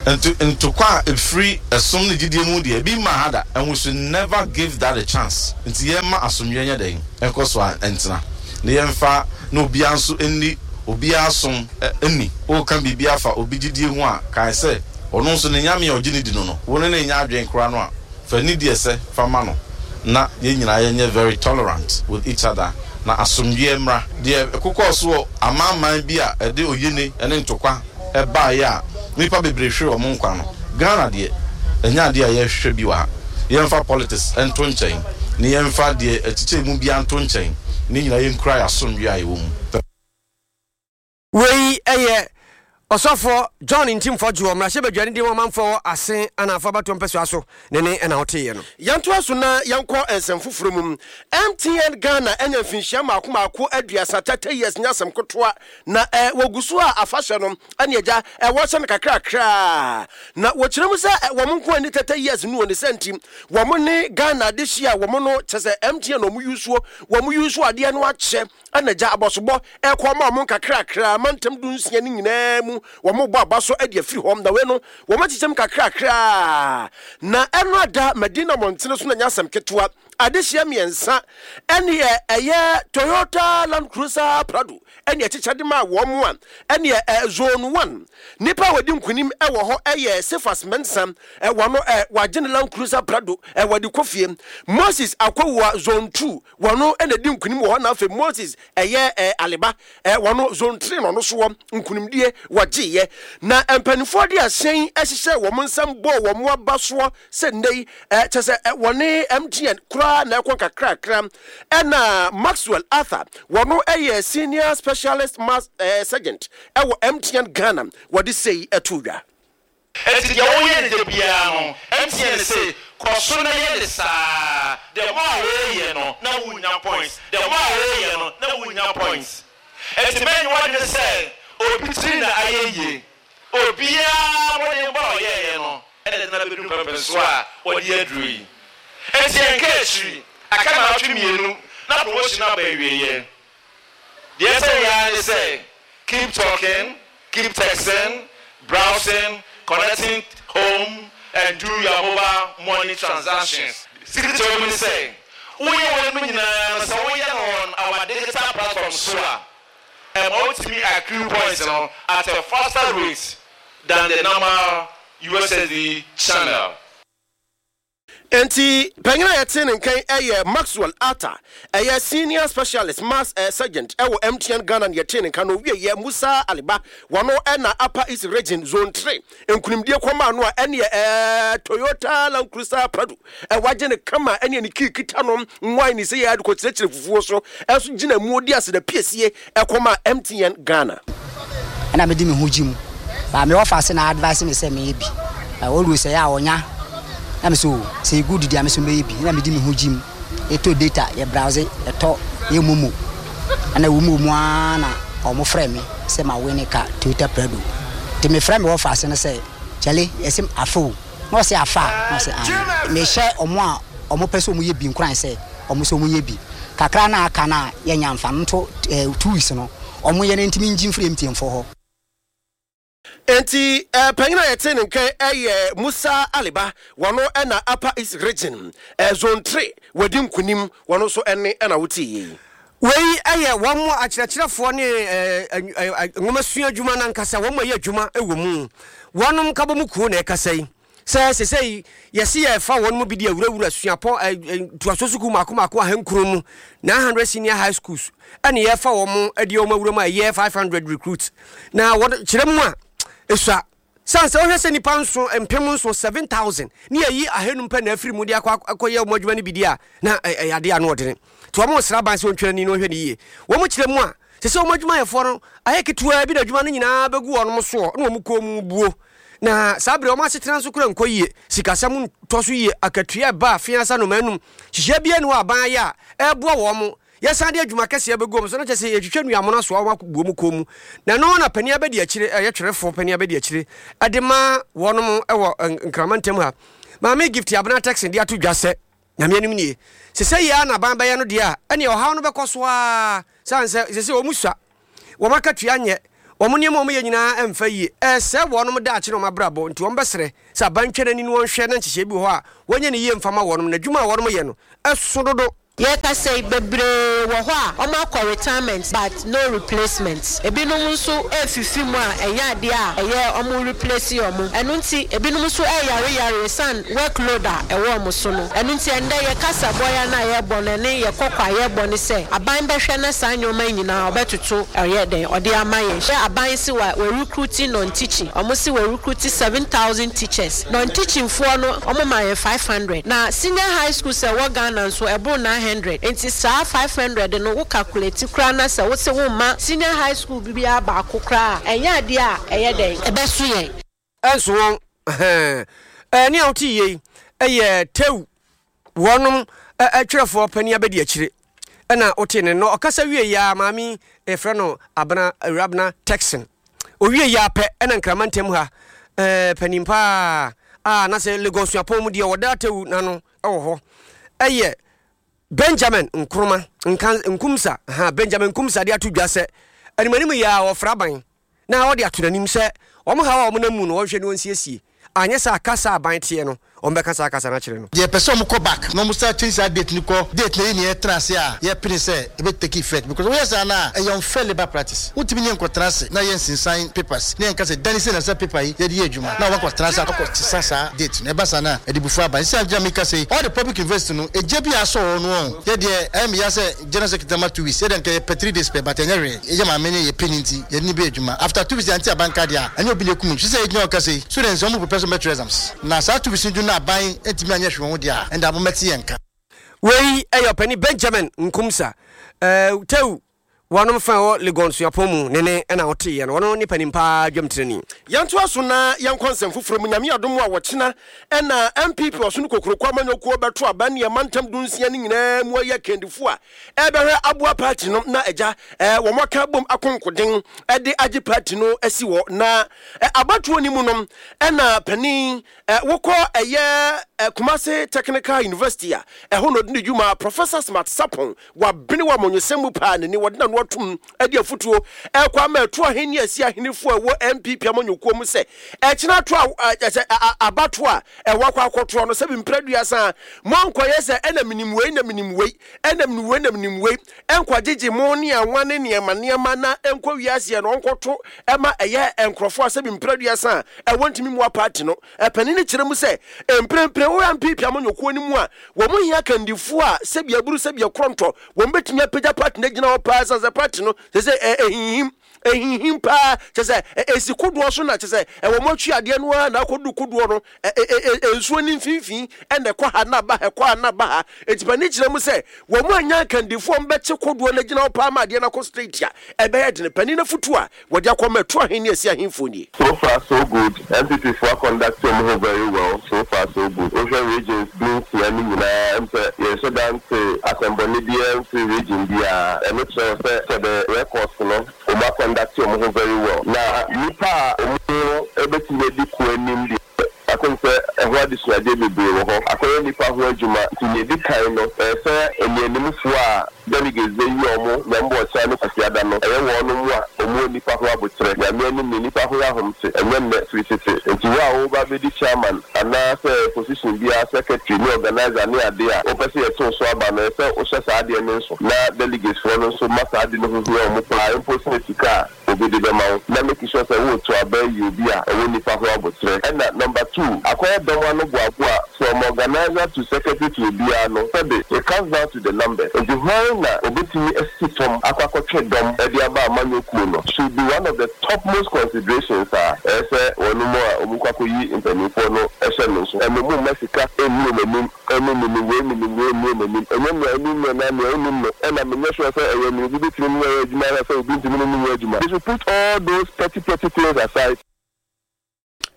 Nto ntokwa a ɛfiri ɛsom ne gyidie mu deɛ, ebi mmaa ha da and we should never give that a chance. Nti yɛmma asomdwoeɛ nyɛ dɛn? Ɛnkɔ so ara ntena. Na yɛmfa na obiara nso nni obiara som nni. Woreka biribi afa obi gyidie ho a, kae sɛ ɔno nso ne Nyame a ɔgye no di no no, wo ne no nyɛ adwene koraa no a, Fa nidi ɛsɛ fa ma no na yɛn nyinaa yɛnyɛ very tolerant with each other na asomdwoeɛ mmra. Deɛ ɛkokɔɔ so wɔ amanman bi a ɛde oyene ne ntokwa baeɛ a nnipa bebree hweree wɔn nkwa no, Ghana deɛ ɛnyɛ adeɛ a yɛhwehwɛ bi wɔ ha. Yɛmfa politics nto nkyɛn na yɛmfa deɛ ɛkyekyɛ mu biara nto nkyɛn na yɛn nyinaa yɛnkura yɛn asomdwoeɛ a yɛwɔ mu. Wei yɛ Ɔsɔfoɔ John Ntim Fodjour, mmarahyɛbadwani de ma ɔmanfoɔ wɔ Asen Anaafoɔ abatoɔ mpɛsoa so ne ne na woteeɛ no. Yɛntoa so na yɛnkɔ nsɛm foforɔ mu. MTN Ghana anya mfinhyia mmaako mmaako aduasa, 30 years, nyɛ asɛm ketewa, na wɔgu so a afahyɛ no ne agya wɔhyɛ no kakrakra. Na wɔkyerɛ mu sɛ wɔn nko ani 30 years no wɔ ne sɛ nti wɔn ne Ghana adehye a wɔn no kyɛ sɛ MTN wɔn yusuo wɔn yusuo adeɛ no akyɛ Ɛna gya abɔsobɔ rekɔ ama wɔn nkakrakra, mantam dunsia no nyinaa mu, wɔrebɔ aba so de afiri hɔ. Na wei no, wɔakyekyɛm kakrakra. Na ɛno ada Madina mmɔntene so na ɛnyɛ asɛm ketewa. Adehyeɛ mmiɛnsa ɛne ɛyɛ Toyota Land Cruiser Prado ɛne ɛkyekyɛ de maa wɔn a ɛne ɛ Zone 1. Nipa a wɔdi nkunim ɛwɔ hɔ ɛyɛ Cephas Mensah, ɛwɔ no ɛ wagye ne Land Cruiser Prado ɛwɔ de kɔ fie. Moses Akowua Zone 2 Wɔno na edi nkunim wɔ hɔ na afei Moses ɛyɛ ɛ Aleba ɛ wɔno zone three na ɔno so wɔ nkunimdie wɔgyeeɛ. Na mpaninfoɔ de ahyɛn hyehyɛɛ wɔn nsam bɔɔ wɔn aba soɔ sɛ nnɛ yi ɛ kyɛ sɛ ɛ wɔne MTN koraa na ɛkɔ nkakrakra. Ɛna Maxwell Arthur wɔno ɛyɛ senior specialist mass ɛ sergeant ɛwɔ MTN Ghana wɔde sei ɛtoo dwa. Enti deɛ woyɛ no da biara no, MTN se kɔ so na yɛ no saa. The more a woreyɛ no na worenya points, the more a woreyɛ no na worenya points. Enti mɛnyɛ w'adwene sɛ obi tiri na ayɛ yie. Obiara mmɔdenbɔ a ɔyɛeɛ no na ɛde no abɛduru mpɛnpɛnsoɔ a ɔde aduru yi. Enti ɛnka akyiri, aka nnawɔtwe mmienu na promotion no aba awieeɛ. Deɛ ɛsɛ yɛ ara ne sɛ keep talking, keep texting, browsing, connecting home and do your mobile money transactions. Secret a ɛwɔ mu ne sɛ, woyɛ weinom nyinaa no sɛ woyɛ no on our digital platform so a, ɛma wotumi accrue points no at a faster rate than the normal USSD channel. Enti panyin a yɛtee ne nka yi yɛ Maxwell Arthur, ɛyɛ Senior Specialist Mass Sergeant wɔ MTN Ghana na yɛtee ne nka no. Owieɛ Musa Aliba, wɔno na Upper East Region Zone 3 nkunimdie kɔmaa no a ɛneɛ Toyota Land Cruiser Prado wagye no kama ɛneɛ ne kii kita no nwae ne sɛ yɛ de kɔkyerɛkyerɛ fufuo so nso gyina mu ɔdi aseda piesie kɔmaa MTN Ghana. Ɛna mede me ho gye mu. But me wɔfa se na advice me sɛ menyɛ bi. But always ɛyɛ a ɔnya. Na me sɛ oh sɛ ɛyɛ good deɛ a me nso mɛyɛ bi. Ɛna mede me ho gye mu. Yɛtɔ data, yɛ browse, yɛtɔ, yɛ momo. Ɛna ɛwɔ mu wɔ mu ara na wɔn frɛ me sɛ ma win car Toyota Prado. Nti me frɛ me wɔfa se no sɛ kyale yɛse afa o. Na ɔse afa a? Na ɔse aane. Mehyɛ wɔn a wɔn pɛ sɛ wɔn yɛ bi nkuran sɛ wɔn nso wɔn nyɛ bi. Kakra no a aka no a yɛnnya mfa no nto 2 weeks no wɔn yɛ no ntumi ngye mfiri MTN foɔ hɔ. Enti panyin a yɛtee ne nka yɛ Musa Aliba, wɔno na Upper East Region, Zone 3 wadi nkunim, wɔno nso nne na wotee yi. Wei yɛ wɔn akyerɛkyerɛfoɔ ne nwomasua adwuma no ankasa, wɔn a ɛyɛ adwuma wɔ mu, wɔn nkabom kuo na ɛkasa yi. Sɛ sesei yɛse yɛrefa wɔn mu bi de awurawura suapɔn ntoasoɔ sukuu mmaako mmaako ahankron mu, 900 senior high schools, ɛne yɛrefa wɔn de wɔn awura mu a ɛyɛ 500 recruits. Na wɔn kyerɛ mu a, esua. Sane sɛ wohwɛ sɛ nnipa nson, 7000, 7,000, ne yɛyi ahanum pɛ na afiri mu de akɔ akɔyɛ wɔn adwuma no bi di a, na ɛyɛ adeɛ ano ɔdene. Nti wɔn resrɛ aban sɛ wɔntwɛn ani na wɔnhwɛ no yie. Wɔn kyerɛ mu a, sɛ sɛ wɔn adwumayɛfoɔ no ayɛ ketewaa bi na adwuma no nyinaa bɛgu wɔn soɔ na wɔn kɔn mu buo. Na saa berɛ wɔn asetena nso kora nkɔ yie, sikasɛm ntɔ so yie, akatua ɛba afe ansa nnɔma anum, nhyehyɛeɛ biara nni hɔ a aban ayɛ a ɛreboa wɔn. Yɛsan de adwuma kɛseɛ bɛgu wɔn so na kyerɛ sɛ yɛtwitwa nnuamono asoa wɔn akɔbu wɔn kɔn mu. Na ɛno na panin abɛdi akyire, ɛyɛ twerɛfoɔ panin abɛdi akyire de ma wɔnom wɔ Nkrama ntam ha. Maame Gift Abena Turkson de ato dwa sɛ, Nyame anim nie, sɛ sɛ yei ara na aban bɛyɛ no deɛ a, ɛneɛ ɔhaw no bɛkɔ so ara. Sane sɛ sese wɔn sua, wɔn akatua nyɛ, wɔn nneɛma a wɔyɛ nyinaa ɛmfa yie. Ɛresɛe wɔnom daakye ne wɔn abrabɔ nti wɔn bɛsrɛ sɛ aban ntwa n'ani na wɔnhwɛ na nhyehyɛe bi wɔ hɔ a wɔnyɛ no yie mfa ma wɔnom na adwuma a wɔnom yɛ no ɛso dodo. Yɛkasa yi, bebree wɔ hɔ a wɔn akɔ retirement but no replacement. Ebinom nso refifi mu a ɛnyɛ adeɛ a ɛyɛ wɔn replace wɔn. Ɛno nti ebinom nso reyare yare ɛsiane work load a ɛwɔ wɔn so no. Ɛno nti ɛndɛ yɛ kasa bɔya no a yɛrebɔ no ɛne yɛ kɔkɔ a yɛrebɔ ne sɛ aban bɛhwɛ na saa nnoɔma yi nyinaa ɔbɛtoto ɔyɛ dɛn ɔde ama yɛn. Hwɛ aban se wa wa recruiti non teaching, wɔn se wa recruiti 7000 teachers. Non teaching foɔ no wɔn ma yɛn 500. Na senior high schools a ɛwɔ Ghana nso ɛboro 900. Nti saa 500 no wo calculate koraa na sɛ wose womma senior high school biara baako koraa a, ɛnyɛ adeɛ a ɛyɛ dɛn? Ɛbɛso yɛn. Ɛnso wɔn, ɛhɛn, ɛɛ, nea wote yei yɛ Tew, wɔnom twerɛfoɔ panin abɛdi akyire, ɛna wote ne no ɔkasa wie yi ara, maame yi yɛfrɛ no Abena, Awurabena Texan. Owie yi ara pɛ ɛna Nkrama ntam ha, ɛɛ, panin paa a na sɛ Legon Suapɔn mu deɛ wɔda Tew n'ano wɔ hɔ, ɛyɛ Benjamin Nkrumah, Nka, Nkumsa, ha, Benjamin Nkumsa de ato dwa sɛ animanim yi ara wɔfra aban na ɔde ato n'anim sɛ wɔn haw a wɔnam mu no wɔnhwɛ na wɔnsiesie, anyɛ saa a kasa a aban teɛ no wɔbɛka saa kasa no akyerɛ no. Yɛ pɛ sɛ ɔmo kɔ back na ɔmo san change saa date no kɔ date no ɛyɛ nea yɛtena ase a yɛ pene sɛ ɛbɛ take effect because woyɛ saa no a ɛyɛ unfair labour practice wontumi ne yɛn nkɔ tena ase na yɛ nsensan papers na yɛn ka sɛ dane sei na sɛ paper yi yɛde yɛ adwuma na wakɔ tena ase akɔ sesa saa date no ɛba saa no a ɛde bufuo aba nti sɛ gyina meka sɛ yi all the public university no egya bi a asɔ wɔ no wɔn yɛ deɛ ɛyɛ me ya sɛ general secretary ma 2 weeks yɛ deɛ nka yɛ pɛ 3 days pɛ but ɛnyɛ hwee yɛ maame ne yɛ pɛ ne nti yɛde ne bɛ adwuma after 2 weeks yɛante aban ka deɛ a ɛnyɛ obi na ekum nti sɛ yɛgyina hɔ kasa yi students wɔn prepare sɛ wɔn bɛtwerɛ exams na saa 2 weeks no du na aban ntumi anyɛ hwee wɔn ho deɛ a ɛnde abomɛte yɛn nka. Wei yɛ ɔpanin Benjamin Nkumsa, eh, Tew wɔnom fa ɛwɔ Legon Suapɔn mu ne ne ɛna ɔteeɛ no, ɔno ne panin paa dwamtirani. Yɛntoa so na yɛnkɔ nsɛm foforɔ mu. Nyame adom a wɔkyena na NPP Ɔsono Kokroko Amanyɔkuo bɛto aba ne amantam dunsia no nyinaa mu ayi akandifoɔ a ɛrebɛhwɛ aboa party no na agya wɔn aka abom akonkoden de agye party no asi hɔ. Na abatoɔ no mu no na panin wokɔ ɛyɛ Kumasi Technical University a ɛhɔ na ɔdi ne dwuma, Professor Smart Sarpong Wabene wɔ amanyɔsɛm mu paa na ni wɔde n'ano atom de afotuo rekɔ ama ɛto ahenni ne asi ahenefo a ɛwɔ NPP amanyɔkuo mu sɛ ɛkyena ato a sɛ abatoɔ a ɛwɔ akɔ akɔtoɔ no sɛbi mprɛ aduasa a moankɔyɛ sɛ ɛna menim wei na menim wei ɛna menim wei na menim wei ɛnkɔgyegye mo ne anwa ne nneɛma nneɛma na ɛnkɔ wiaseɛ no ɔnkɔto ɛma ɛyɛ nkurɔfoɔ a sɛbi mprɛ aduasa a ɛwɔ ntumi mua party no. Ɛpanin no kyerɛ mu sɛ mprempren wɔ NPP amanyɔkuo no mu a, wɔn hia akandifoɔ a sɛbi aburu sɛbi ɛkorɔntɔ, wɔn bɛtumi apagya party no agyina hɔ paa ɛsiane sɛ party no sɛ sɛ ɛhinhim, ɛhinhim paa, kyɛ sɛ ɛsi kodoɔ so na kyɛ sɛ ɛwɔ mo atwi adeɛ no ara na akɔdu kodoɔ no nsuo no mfimfini ɛna ɛkɔ ha na aba ha ɛkɔ ha na aba ha. Enti panin kyerɛ mu sɛ wɔn anya akandifoɔ a wɔbɛkye kodoɔ no agyina hɔ paa ma adeɛ no akɔ straight a, ɛbɛyɛ dene. Panin no afotuo a wɔde akɔma ɛto ahen ne asi ahenfoɔ nie. So far so good, NPP foɔ akɔndakte ɔmo ho very well, so far so good. Wohwɛ regions dunsia no nyinaa ɛm sɛ yɛnhyɛ da nte asɛmbɔne biara mfiri region biara. Ɛno kyerɛ wo sɛ for the records no ɔmo akɔndakte ɔmo ho very well. Na nnipa a ɔmo bɛtumi adi ko anim deɛ I think sɛ ɛho adesuadeɛ bebree wɔ hɔ. Akɔyɛ nnipa ho adwuma nti nea ɛdi kan no ɛyɛ sɛ nnianimfoɔ a delegates bɛyi wɔn Nyame Ɔkyena ne Kwasiada no ɛyɛ wɔnom a wɔn wɔ nnipa ho aboterɛ, Nyame anim ne nnipa ho ahomte, ɛnyɛ nnɛ firi tete. Nti wo a woreba abɛdi chairman anaa sɛ position biara, secretary ne organiser ne adeɛ a wopɛ sɛ yɛto wo so aba no ɛyɛ sɛ wohyɛ saa adeɛ no nso na delegates foɔ no nso ma saa ade no ho hia wɔn paa mpo sene sika a obi de bɛma wo na make sure sɛ woreto aba ayi obi a ɔwɔ nipa ho aboterɛ. Ɛna number two, akɔyɛ dɔm ano boaboa from organiser to secretary to obiara no sɛbe it comes down to the numbers nti hwan na obetumi asi fam akɔ akɔtwe dɔm de aba amanyɔ kuo no should be one of the topmost considerations a ɛyɛ sɛ wɔnom a wɔkɔ akɔyi mpaninfoɔ no hyɛ no nso. Ɛno momma sika nni wɔn anim. Ɛne menim wei menim wei mmue m'anim ɛnyɛ nea onim me anaa nea onnim no ɛna menyɛ sure sɛ ɛyɛ nea obi bɛtumi ne me ayɛ adwuma anaa sɛ obi ntumi ne me nyɛ adwuma they should put all those petty petty things aside.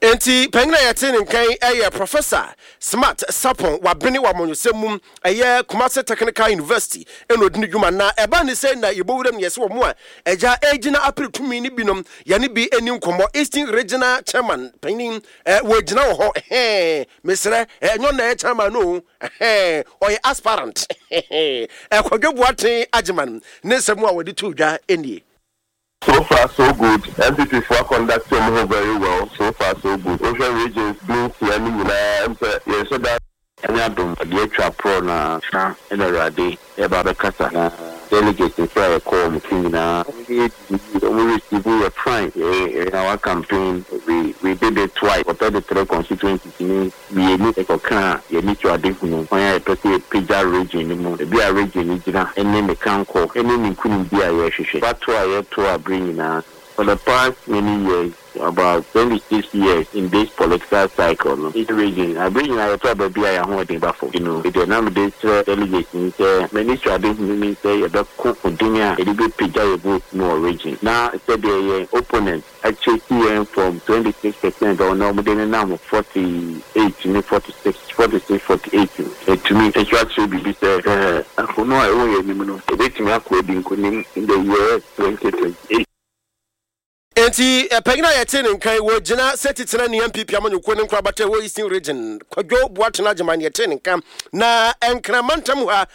Enti panyin a yɛte ne nka yi yɛ Professor Smart Sarpong, wabene wɔ amanyɔsɛm mu, ɛyɛ Kumasi Technical University na ɔdi ne dwuma. Na ɛba ne sɛ na yɛbɔ wuram na yɛsɛ wɔn a agya ɛregyina apere tumi no binom, yɛne bi nni nkɔmmɔ. Eastern Regional Chairman panyin, wɔgyina wɔ hɔ, ɛhɛɛ, mesrɛ, ɛnyɛ ɔno na ɛyɛ chairman no o, ɛhɛɛ, ɔyɛ aspirant, ɛhɛɛ, Kwadwo Boateng Agyeman ne nsɛm a wɔde too dwa nie. So far so good, NPP foɔ akɔndakte wɔn ho very well, so far so good. Wohwɛ regions du nsia no nyinaa ɛm sɛ yɛnhyɛ da. Nyame adom, ɔde atwa aprɔ na kyena na Awurade reba abɛkasa na delegates nso a yɛkɔ wɔn so nyinaa wɔn ne yɛ dii yie, wɔn receive yɛ fine, yɛ our campaign we we did it twice for 33 constituencies ni. Mmienu kɔkaa yɛn anisoadehunu, kwan a yɛpɛ sɛ yɛpagya region no mu, baabi a region no gyina ne ne kankɔ ne ne nkunimdie a yɛrehwehwɛ. Abatoɔ a yɛto a bere nyinaa no, for the past many years, about 26 years in this political cycle no, each region, bere nyinaa yɛto aba bi a yɛn ahoɔden ba fam. Nti no, deɛ na mede srɛ delegates ne sɛ, m'anisoadehunu ne sɛ yɛbɛko koden a yɛde bɛpagya yɛn vote mu wɔ region, na sɛdeɛ yɛn opponent, Akyɛki yɛn from 26 percent a ɔnɛ wɔde nenam 48 ne 46, 46, 48 no, yɛatumi nso akyerɛ biribi sɛ akono a ɛwɔ yɛn anim no, yɛbɛtumi akɔ adi nkonim in the year 2028. Enti panyin a yɛtee ne nka yi, wɔgyina sɛ titenani NPP amanyɔkuo ne nkorabata ɛwɔ Eastern Region, Kwadwo Boateng Agyeman na yɛtee ne nka. Na Nkran mantam ha,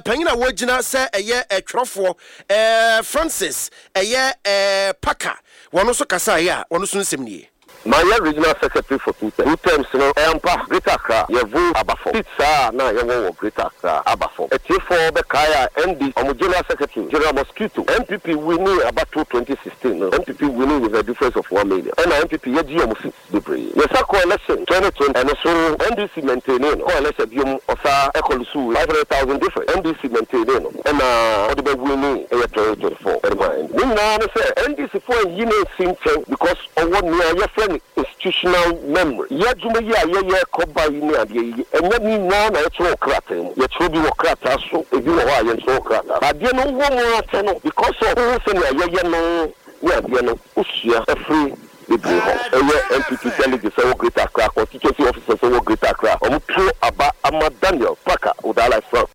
panyin a wɔgyina sɛ ɛyɛ twerɛfoɔ, Francis Ɛyɛ eh Parker wɔn nso kasaeɛ a wɔn nso nsɛm nie. Mayɛ regional secretary for two terms, two terms no ɛyɛ ampa Greater Accra yɛ vote aba fam, seats a na yɛwɔ wɔ Greater Accra aba fam. Atiefoɔ bɛkae a NDC wɔn general secretary General Mosquito, NPP winning abatoɔ 2016 no NPP winning with a difference of one million ɛna NPP yɛgye wɔn seats. bebree. Yɛsa kɔɔ election 2020 ɛno so NDC maintainee no, kɔɔ election biom ɔsa ɛkɔ lusuu 500,000 difference, NDC maintainee no ɛna ɔde bɛ winee ɛyɛ 2024 ɛde maa NDC. Ne nyinaa ne sɛ NDC foɔ anyi no ansi nkyɛn because ɔwɔ nea yɛfrɛ no institutional memory. Yɛ adwuma yi a yɛyɛ kɔ ba yi ne adeɛ yi ɛnyɛ ne nyinaa na yɛtwerɛ wɔ krataa mu, yɛtwerɛ bi wɔ krataa so, ebi wɔ hɔ a yɛntwerɛ wɔ krataa so. Adeɛ no wowɔ mu ara kyɛ no because of wohu sɛnea yɛyɛ no ne adeɛ no wosua firi bebree hɔ. Ɛyɛ NPP delegates ɛwɔ Greater Accra, constituency officers ɛwɔ Greater Accra, wɔn to aba ama Daniel Parker Odalai Frank.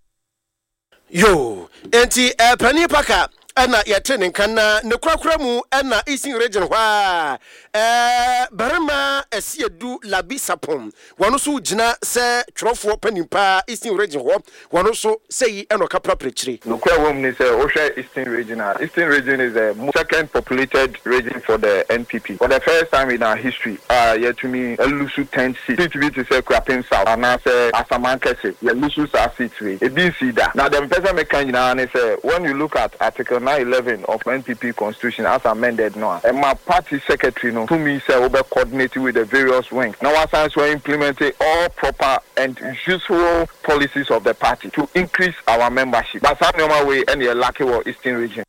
Yoo, enti eh, Panin Parker ɛna yɛte ne nka na ne korakora mu ɛna Eastern Region hɔ a eh, barima Asiedu Labi Sapon wɔn nso gyina sɛ twerɛfoɔ panin paa Eastern Region hɔ Wɔn nso, sɛyi na ɔka prapra kyire. Nokorɛ wɔ mu ne sɛ wohwɛ Eastern Region a, Eastern Region is the second populated region for the NPP. For the first time in our history a yɛatumi alusu ten seats, seat bi te sɛ Kuapem South anaasɛ Asamankɛse, yɛalusu saa seats wei. Ebi nsii da. Na deɛ mepɛ sɛ meka nyinaa ne sɛ when you look at Article 911 of NPP constitution as amended no a, ɛma party secretary no tumi sɛ wobɛ coordinate with the various wings na wasan nso a implement all proper and useful policies of the party to increase our membership but saa nnoɔma wei ɛna yɛ lacke wɔ eastern region.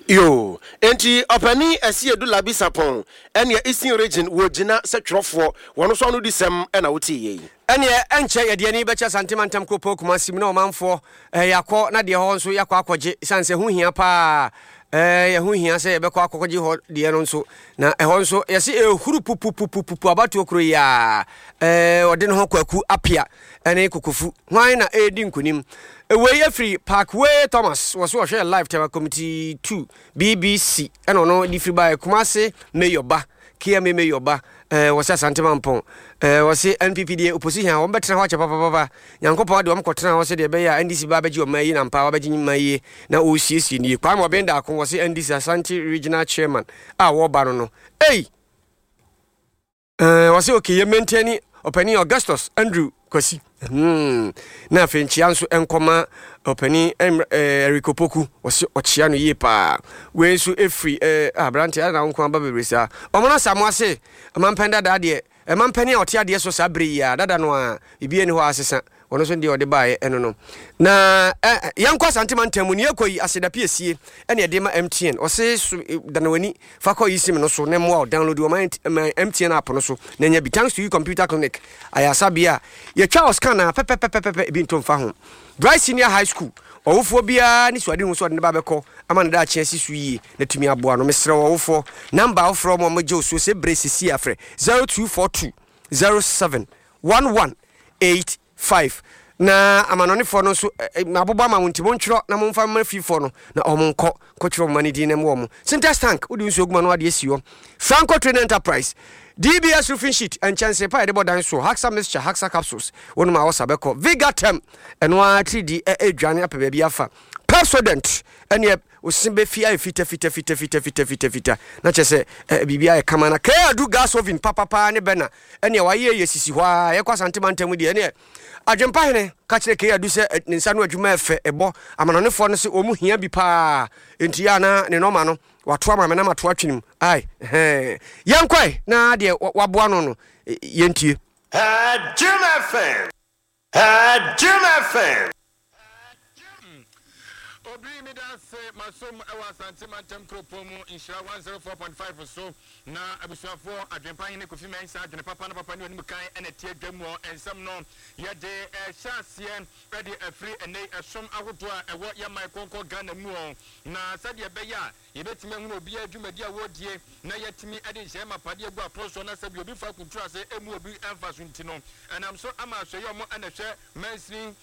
Yoo, enti Ɔpanin Asiedu Labi Sarpong ɛneɛ Eastern Region wɔ gyina sɛ twerɛfoɔ, wɔn nso ano di sɛm ɛna wotee yei. Ɛneɛ ɛnkyɛ yɛde ani bɛkyɛ Asante Mantam Kuropɔn Kumasi mu na ɔmanfoɔ eh, yɛakɔ na deɛ hɔ nso yɛakɔ akɔgye sane sɛ ɛho hia paa eh, ɛho hia sɛ yɛbɛkɔ akɔgye hɔ deɛ no nso na ɛhɔ nso yɛse ɛhuru pupupupupu abatoɔ kuro yi a eh, ɔde ne ho Kwaku Apia ɛne Kokofu hwan na ɛredi nkonim wei afiri Parkway Thomas wɔ so ɔhwɛ live Tema Committee 2 BBC ɛna ɔno de firi baeɛ Kumasi Mayor ba KMA Mayor ba eh, wɔsɛ Asante Mampɔn eh, wɔse NPP deɛ opposition a wɔn bɛtena hɔ akyɛ papapapa Nyankopɔn ade wɔn kɔtena hɔ sɛdeɛ ɛbɛyɛ a NDC ba abɛgye ɔman yi na ampa wabɛgye man yie na ɔresiesie nie Kwame Ɔben Daako wɔse NDC Asante Regional Chairman a wɔba no no ei eh, wɔse okay yɛ maintain ɔpanin Augustus Andrew Kwasi hmm. na afei nkyea nso nkɔma ɔpanin eh, Eric Opoku wɔse ɔkyea no yie paa wei nso ɛfiri eh, aberante ada na wo nko aba bebree saa ɔmo no asa mo ase ɔmampɛn dadaa deɛ ɛmampɛn a ɔte adeɛ so saa bere yi a dada no a biribi ani hɔ a asesa Ɔno nso deɛ ɔde baeɛ ɛno no. Na ɛ yɛnkɔ Asante mantam mu, nea ɛkɔ yi aseda piesie ɛna ɛde ma MTN. Ɔse so dane w'ani fa kɔ eSIM no so na mmoa wo download wɔ my MTN app no so na nya bi. Thanks to you Computer Clinic ayaresabea a yɛtwa wo scan a pɛpɛpɛpɛpɛ ebi nto mfa ho. Bright Senior High School ɔwofoɔ biara ne suadehu sɛ ɔde ne ba bɛkɔ. ama ne daakye asi so yie na atumi aboa no. Mesrɛ wo ɔwofoɔ, number a wofrɛ wɔn a wɔgye wo so sɛ berɛ sisi a frɛ 0242 07 11 85 na amanɔnefoɔ no nso mabobɔ ama mo nti montwerɛ na momfa mma fiefoɔ no na wɔn nkɔ nkɔtwerɛ wɔn mma no din na mmoa wɔn. Sintex tank wode nsuo gu ma no adeɛ si hɔ. Franco Trading Enterprise DBS roofing sheet nkyɛnse pa a yɛde bɔ dan soɔ Haxa mixture Haxa capsules wonom a ɔsa bɛkɔ Vigatem ɛno ara tiridi ɛredwane apɛ baabi afa Pepsodent ɛneɛ ose bɛfi ayɛ fita fita fita fita fita fita fita na kyerɛ sɛ biribi ayɛ kama na Kadu gas oven papapaa ne bɛna ɛneɛ wayɛ yɛ sisi hɔ a yɛkɔ Asante mantam deɛ ɛneɛ Adwempa hene ka kyerɛ Kadu sɛ ne nsa no adwuma ɛfɛ ɛbɔ amanɔnefoɔ no sɛ wɔn hia bi paa nti yɛ ana ne nɔma no wato ama me na mato atwene mu ai hɛn yɛnkɔe na deɛ waboa no no yɛntie. Jim FM. Jim FM. Obiri meda ase masom wɔ Asante mantam kuropɔn mu Nhyira 104.5 so na abusuafoɔ Adwenpa Hene Kofi Mensah adwene papa na papa ne onim kan na ɛte adwa mu nsɛm no yɛde rehyɛ aseɛ de afiri ɛnnɛ yi ɛsom ahodoɔ a ɛwɔ yɛn man kronkron Ghana mu na sɛdeɛ ɛbɛyɛ a Yɛbɛtumi ahunu obiara dwumadi a wɔredie na yɛatumi de nhyehyɛeɛ mapa de agu apono soɔ na sɛdeɛ obi fa akuntunu ase mmu obi mfa so nti no, ɛnam so ama asoɛeɛ a wɔn na ɛhwɛ mansini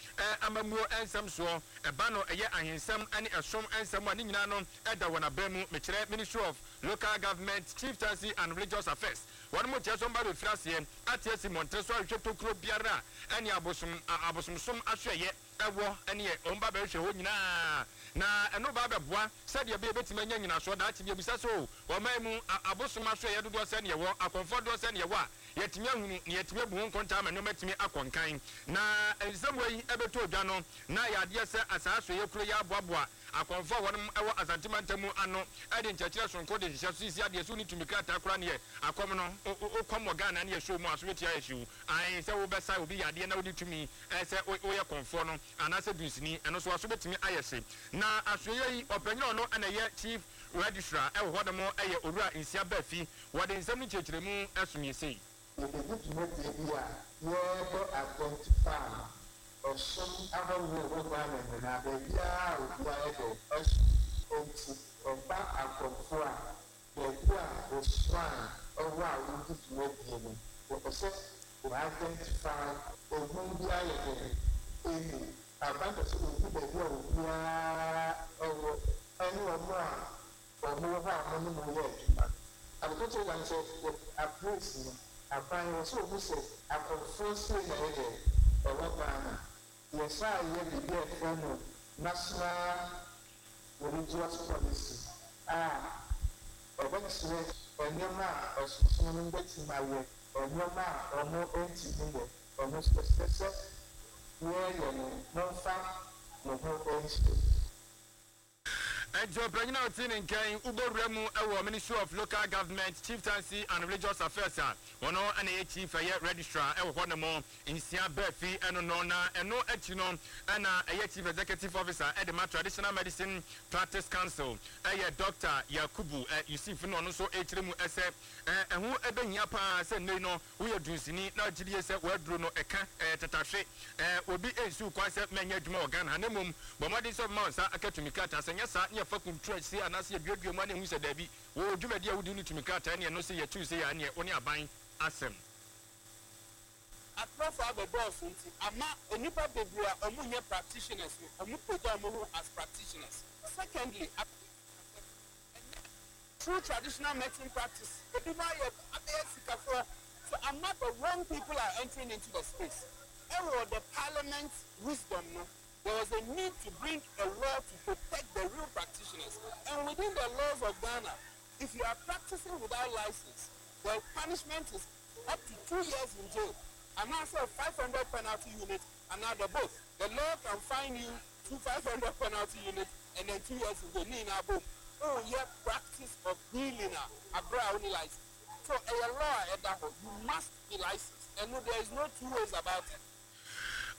amammuo nsɛm soɔ, ɛba no ɛyɛ ahensɛm ne ɛsom nsɛm a ne nyinaa no da wɔn aban mu, mekyerɛ Ministry of Local Government, Chieftaincy and Religious Affairs. Wɔn mo kyerɛ sɛ wɔn ba bɛfiri aseɛ ate asi mmɔntene so ahwehwɛ tokuro biara a ɛne abosom abosomsom asoɛeɛ wɔ ɛneɛ wɔn ba bɛhwehwɛ hɔ nyinaa na ɛno ba bɛboa sɛdeɛ ɛbɛyɛ yɛbɛtumi anya nyinasoɔ daakye bi abisa sɛ o ɔman mu abosom asoɛeɛ dodoɔ sɛn na yɛwɔ, akɔmfoɔ dodoɔ sɛn na yɛwɔ a yɛatumi ahunu na yɛatumi abu ho nkontaa ama nneɛma atumi akɔ nkan. Na nsɛm wei bɛtɔ dwa no na ɛyɛ adeɛ sɛ asaa asoɛeɛ kuro yi aboaboa akɔmfoɔ a wɔnom wɔ Asante mantam mu ano de nkyerɛkyerɛ sononko de hyehyɛ so sisi adeɛ sɛ wonni tumi krataa koraa neɛ akɔm no wokɔm wɔ Ghana ne yɛhyɛ mu a so bɛtumi ayɛ hyew ae sɛ wobɛsa obi yadeɛ na wonni tumi sɛ woyɛ kɔmfoɔ no anaasɛ dunsini, ɛno nso w'aso bɛtumi ayɛ hye. Na asoɛeɛ yi, ɔpanyin a ɔno na ɛyɛ Chief Registrar wɔ hɔ nom yɛ Owura Nsia Baafi. Wɔde nsɛm no nkyerɛkyerɛmu som yɛ sei. Yɛbɛdi dwumadie bi a yɛrebɛ identify ɛsom ahoroɔ a ɛwɔ Ghana nyinaa, baabiara a obiara yɛ dɛn ɛsom. Enti ɛba akɔmfoɔ a, baabi a wo shrine wɔ a wodi dwumadie no, yɛpɛ sɛ wɔ identify ohun bi ayɛ dɛn ɛmu. Aban pɛ sɛ ohu baabi a obiara wɔ ɛne wɔn a wɔn wɔ hɔ a wɔne mo yɛ adwuma no. Ade titiriw ne sɛ yɛ apolice no, aban wɔ sɛ ohu sɛ akɔmfoɔ sei na ɛyɛ dɛn ɛwɔ Ghana. Yɛsan yɛ biribi a yɛfrɛ no National Religious Policy a ɛbɛkyerɛ nneɛma a ɛsonsono no bɛtumi ayɛ, nneɛma a wɔntumi nyɛ. Ɛno nso ɛsɛ sɛ yɛyɛ no, momfa mo ho nhyɛ mu. Enti ɔpanyin a ɔte ne nka yi wobɔ wura mu wɔ Ministry of Local Government, Chieftaincy and Religious Affairs a ɔno na ɛyɛ Chief ɛyɛ Registrar wɔ hɔ nom nsia baafi ɛno no na ɛno akyi no na ɛyɛ Chief Executive Officer de ma Traditional Medicine Practice Council ɛyɛ Doctor Yakubu Yusif na ɔno nso rekyerɛ mu sɛ ɛho bɛhia paa sɛ nnɛ yi no Woyɛ dunsini na wogye die sɛ w'aduro no ɛka, ɛyɛ tatahwe. Ɛɛ, obi nsi wo kwan sɛ mɛnyɛ adwuma wɔ Ghana ha na mmom bɔ mmɔden sɛ wobɛma wo nsa aka tumi krataa. Sɛ nyɛ saa ne yɛfa kunturu akyire anaasɛ yɛduadua mu a na yɛhu sɛ daabi, wo dwumadi a wodi no tumi krataa ne ɛno sɛ yɛtu sei a ɛneɛ wo ne aban asɛm. Atorofo abɛdɔɔso nti ama nnipa bebree a wɔn nyɛ practitioners no wɔn pagya wɔn ho as practitioners. Secondly, ɛnyɛ true traditional medicine practice ebinom ayɛ abɛyɛ sikafoɔ so ama the wrong people are entering into the space ɛwɔ the parliament wisdom no there was a need to bring a law to protect the real practitioners and within the laws of Ghana if you are practicing without license the punishment is up to 2 years in jail anaasɛ 500 penalty unit anaa the both. The law can fine you two 500 penalty unit and then 2 years in jail ne nyinaa bom woyɛ practice of healing a aberɛ a wonni license. So ɛyɛ law a ɛda hɔ, you must be licensed ɛno there is no two ways about it.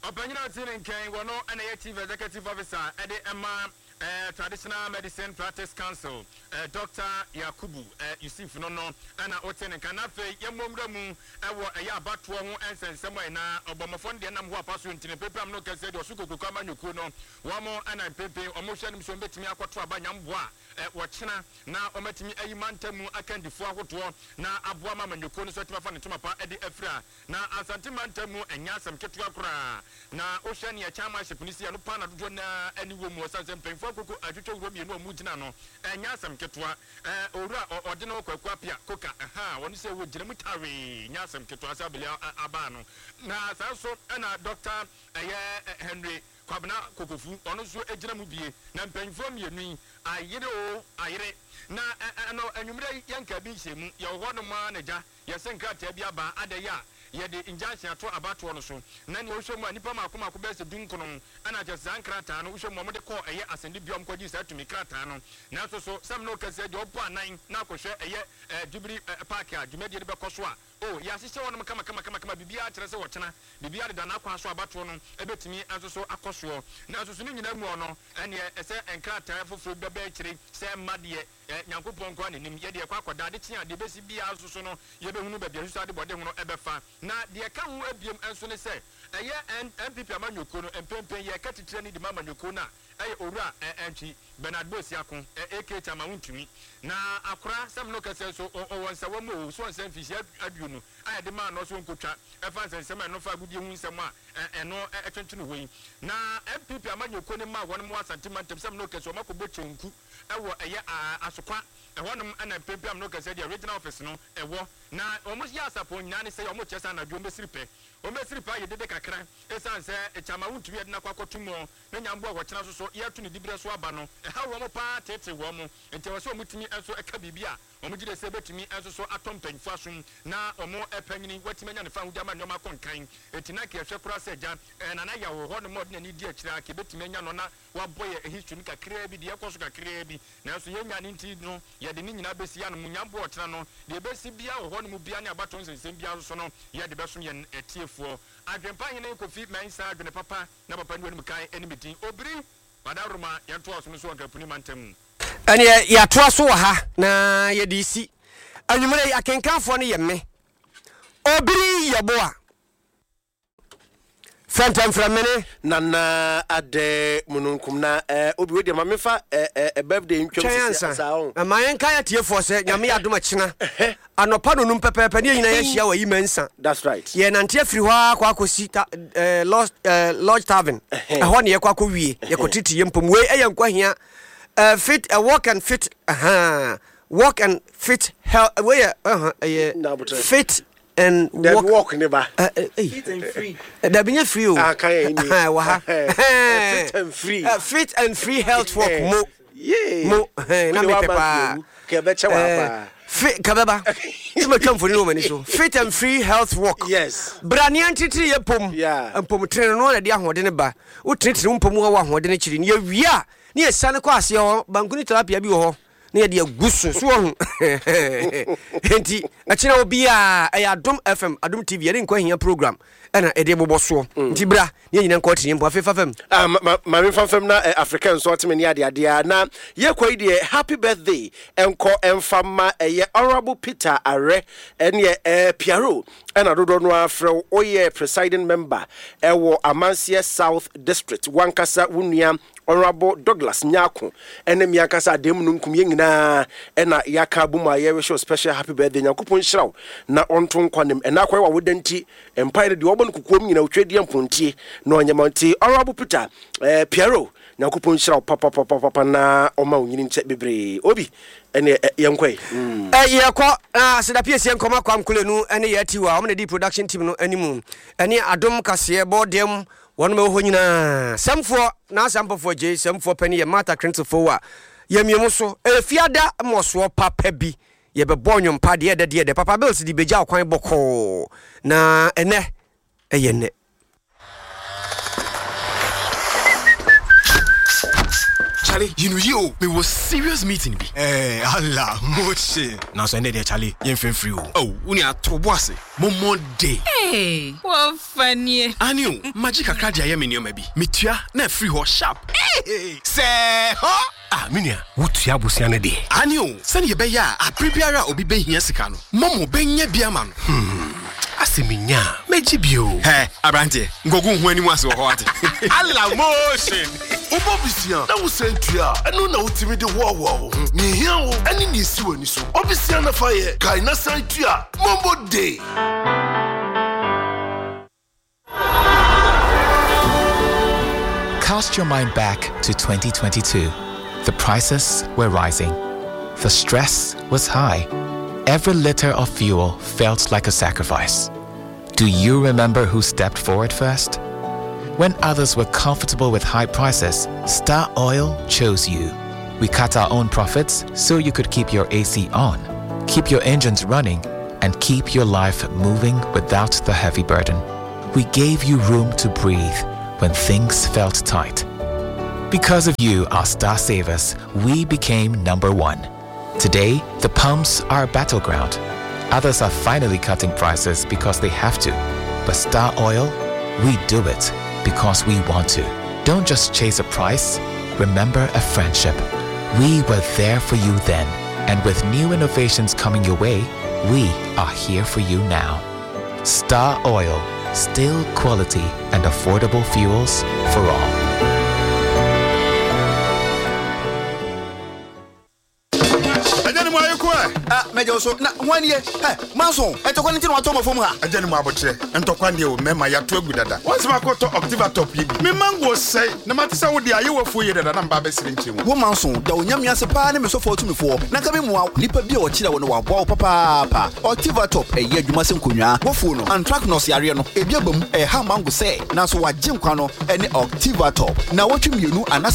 Ɔpanyin a ɔte ne nkyɛn wɔ no na ɛyɛ Chief Executive Officer de ma. Traditional Medicine Practice Council, Dɔkta Yakubu Yusuf no no na wote ne nka. Na afei yɛmmɔ nwura mu wɔ ɛyɛ abatoɔ ho nsɛnsɛm a na ɔbɔmmɔfoɔ no deɛ nam hɔ apa so nti no mpempem ano kɛseɛ deɛ ɔso kokuroko amanyɔkuo no wɔn na mpempem wɔn hwɛ anim sɛ wɔbɛtumi akɔto aba nyamboa a wɔkyena na wɔatumi ayi mantam mu akandifoɔ ahodoɔ na aboa ma amanyɔkuo no nso atumi afa ne ntoma pa de afira. Na Asante mantam mu ɛnyɛ asɛm ketewa koraa. Na wohwɛ nea chairmanship no si ɛno paa na dodoɔ no ara ani wɔ mu ɛsiane sɛ mpanyinfoɔ akoko atwitwa wura mmienu a wɔgyina ano ɛnyɛ asɛm ketewa. Ɛɛ Owura ɔ ɔde ne ho Kwaku Appiah Koka ɛhaa ɔno sɛ wɔgyina mu tawee nyɛ asɛm ketewa sɛ abili abaa no. Na saa nso ɛna Doctor ɛyɛ Henry Kwabena Kokofu ɔno nso gyina mu bie. Na mpanyinfoɔ mmienu yi ayere oo ayere. Na ɛ ɛno anwummerɛ yi yɛnkaa bi nhyɛɛ mu yɛwɔ hɔ nom ara na gya Yɛse nkrataa bi aba adɛn a yɛde injunction ato abatoɔ no so na nea wohwɛ mu a nnipa mmaako mmaako bɛyɛ sɛ dunkono ɛna kyerɛ sɛ saa nkrataa no wohwɛ mu a wɔde kɔɔ ɛyɛ asɛnnibea a wɔkɔgyee saa tumi krataa no nanso so sɛ mene wo kɛseɛ deɛ ɔbɔ anan na akɔhwɛ ɛyɛ ɛɛ Jubilee ɛɛ Park a dwumadie no bɛkɔ so a oh yɛahyehyɛ hɔnom kama kama kama kama biribiara kyerɛ sɛ ɔkyena biribiara deda n'akwan so a abatoɔ no ɛbɛtumi nso so akɔ soɔ nanso so ne nyinaa mu ɔno ɛneɛ ɛsɛ nkrataa foforɔ bi bɛba akyire sɛ mma deɛ Ɛ, Nyankopɔn nko ara na nim. Yɛde yɛkɔ akɔda, ade kye a, deɛ ɛbɛsi biara nso so no, yɛbɛhunu baabi a nsusuadebɔde ho no bɛfa. Na deɛ ɛka ho biom nso ne sɛ, ɛyɛ N, NPP amanyɔkuo no, mprempren yɛreka titire no de ma amanyɔkuo no a, ɛyɛ Owura ɛ, Antwi Bernard Boasiako, ɛ, aka Chairman Wontumi. Na akora, sɛ me ne wo kasa yi nso, ɔ, ɔwɔ nsawa mu o, so ɔnsɛ mfinhyia aduonu a yɛde maa no sɛ ɔnkɔtwa, ɛfa nsɛnsɛm a ɛno fa agodie ho nsɛm a, ɛ, ɛno ɛ, ɛtwentwene hɔ yi. Na NPP amanyɔkuo no mma a wɔnom wɔ Asante mantam, sɛ me ne wo kasa yi, wɔakɔbɔ kyenku wɔ ɛyɛ Asokwa, ɛhɔnom na mpempem ameno kɛseɛ deɛ regional office no wɔ. Na wɔn yɛ asapɔn nyinaa ne sɛ wɔn kyerɛ sɛ anadwo wɔn bɛsiri pɛ. Wɔn bɛsiri pɛ ayɛ dede kakra ɛsiane sɛ Kyama wontumi yɛde no akɔ akɔto mu na Nyamboa a wɔkyena nso so yɛreto ne diberɛ so aba no ɛhaw wɔn paa teetee wɔn nti ɛwɔ sɛ wɔn tumi nso ka biribi a wɔn gyedie sɛ ɛbɛtumi nso so atɔ mpanyinfoɔ asom na wɔn panyini watumi anya ne fahodie ama nneɛma akɔ nkan. Enti na anka yɛhwɛ koraa sɛ agya Nana Yaw wɔ hɔ nom a ɔde n'ani di akyire a anka yɛbɛtumi anya no na Wɔabɔ yɛn history no kakraa bi, deɛ ɛkɔ so kakraa bi, nanso yɛnnya no nti no, yɛde ne nyinaa bɛsi ano. Munya boɔ ɔkyena no, deɛ ɛbɛsi biara wɔ hɔ no mu biara ne abatoɔ nsɛnsɛm biara nso no, yɛde bɛsom yɛn atiefoɔ. Adwempa Hene Kofi Mensah Adwene papa na papa nni w'anim kan ne me din. Obiri Madaworoma, yɛntoa ɔsom no so wɔ Nkrapuni mantam mu. Ɛneɛ yɛatoa so wɔ ha na yɛde resi. Anwummerɛ yi akenkanfoɔ no yɛ me, Obiri Yeboah. Fɛntɛmfrɛmene. Nana adɛ mununkum na eh, obi wei deɛ ma mefa eh, eh, eh, birthday ntwam Twɛn sisi ansa. saa ho. Na ma yɛnka yɛ atiefoɔ sɛ Nyame yɛ adom akyena anɔpa nonum pɛpɛɛpɛ ne yɛn nyinaa yɛahyia wɔ Ayima Nsa. That's right. Yɛnante afiri hɔ ara akɔ akɔsi ta, eh, Lodge, eh, Lodge Tavern. Ɛhɔ ne yɛkɔ akɔwie. Yɛkɔtete yɛn mpom. Wei ɛyɛ nkwahia eh, fit, eh, walk and fit, uh, walk and fit health. Wei yɛ, uh, ɛyɛ fit and walk. Dabi walk ne ba. Fit and free. Dabi nye free o. Ah kan yɛ ni. Wɔ ha. Fit and free. Fit and free health walk mo. Yee. Mo. Na mi pɛ paa. Kɛbɛ kyɛ wa paa. Fit kɛbɛ ba. Tí ma twa mfoni wɔ m'ani so. Fit and free health walk. Yes. Brania ntitiri yɛ pom. Yeah. Mpom tene no na de ahoɔden ba. Wo tenetene wo mpom wɔ ahoɔden akyiri. Ne yɛ wie a ne yɛ sane kɔ aseɛ hɔ. Banku ne tilapia bi wɔ hɔ. na yɛde agu so so ɔho nti ɛkyena obiaa ɛyɛ Adom FM Adom TV yɛde nkwa hia program ɛna ɛde bobɔ soɔ mm. nti bra ne yɛnyina nkɔ tene mpo afei fa fam ah, ma memfa fam na eh, Africa nso ɔteme ne adeadeɛ a na yɛkɔ yi deɛ happy birthday ɛnkɔ ɛmfa ma ɛyɛ Honorable Peter Arɛ ɛneɛ eh, Piaro ɛna dodoɔ no ara frɛ wo woyɛ presiding member ɛwɔ Amanseɛ South District wankasa wo nua Honourable Douglas Nyarko ne me ankasa Adan Mununkum yɛn nyinaa na yɛaka abom a yɛrehyɛ wo special happy birthday. Nyankopɔn nhyira wo na ɔnto nkwa nem. Ɛnɛ akɔyɛ w'awoda nti mpaeɛ no deɛ ɔbɔ no kokoam nyinaa otwa di mpontie na ɔnyɛ ma nti Honourable Peter eh, Piero Nyankopɔn nhyira wo papapapapa na ɔma wo nyini nkyɛ bebree. Obi ɛne eh, yɛnkɔ yi. Mm. Eh, yɛkɔ na aseda piesie nkɔma Kwam Kulenu ne yɛ atiwa wɔn na di production team no anim ɛne adom kaseɛ bɔ dɛm Wɔnom ɛwɔ hɔ nyinaa. Sɛmfoɔ, N'asɛmpɔfoɔ gyei, Sɛmfoɔ panin yɛ Martha Krentzfoɔ a yɛmia mu so. Ɛyɛ fiada mmɔsoɔ papa bi. Yɛbɛbɔ nnwom pa, deɛ ɛdɛ deɛ ɛdɛ. Papa Bills de bɛgya ɔkwan bɔkɔɔ. Na ɛnɛ ɛyɛ nnɛ. Charlie, you know you, me was serious meeting bi. Eh, Allah, moche. Nanso ɛnɛ deɛ Charlie, yɛmfɛ mfiri o. Oh, wo nua to bo ase. Mommɔ de. Hey, wɔfa nie. Aane o, magye kakra de ayɛ me nneɛma bi. Metua na afiri hɔ sharp. Sɛɛ hɔ! Ah, me nua, wotua abosea no deɛ? Aane o, sɛdeɛ ɛbɛyɛ a abere biara a obi bɛhia sika no, Momo bɛnya bi ama no. Hmm, asɛ menya a, mɛgye bi o. Hɛ, aberanteɛ, nkɔgu wo ho anim ase wɔ hɔ wate. Allah motion! Wobɔ bisia na wosan tua a, ɛno na wotumi de hoahoa wo ho. Nea ehia wo ne nea esi w'ani so. Bɔ bisia na fa yɛ, kae na san tua. Momo Day! Cast your mind back to 2022. The prices were rising. The stress was high. Every liter of fuel felt like a sacrifice. Do you remember who stepped forward first? When others were comfortable with high prices, Star Oil chose you. We cut our own profits so you could keep your AC on, keep your engines running, and keep your life moving without the heavy burden. We gave you room to breathe when things felt tight. Because of you, our star savers, we became number one. Today, the pumps are a battleground. Others are finally cutting prices because they have to. But Star Oil, we do it because we want to. Don't just chase a price, remember a friendship. We were there for you then, and with new innovations coming your way, we are here for you now. Star Oil, still quality and affordable fuels for all. Agya ne mu ayɛ ko ɛ. Ah, mɛgye wo so. Na hwan nie? Hɛ, Manson, ntɔkwa no nti na watɔ ma fam ha. Agya ne mu abokyerɛ, ntɔkwa deɛ o, mɛma yɛato agu dada. Once makɔtɔ Octiva top yi bi, me mango sɛe, na mate sɛ wo deɛ ayɛ w'afuo yie dada na meba abɛsere nkyerɛ mu. Wo Manson, da Onyame ase paa ne me sɔfoɔ ɔtumifoɔ, na nka me mmoa wo. Nipa bi a ɔkyerɛ wo no waboa wo papaapa. Octiva top ɛyɛ adwuma sɛ nkonnwaa. W'afuo no, anthracnose yareɛ no, ebi aba mu, ɛreha mango sɛ, nanso w'agye nkwa no ne Octiva top. Naawɔtwe mmienu anaasɛ.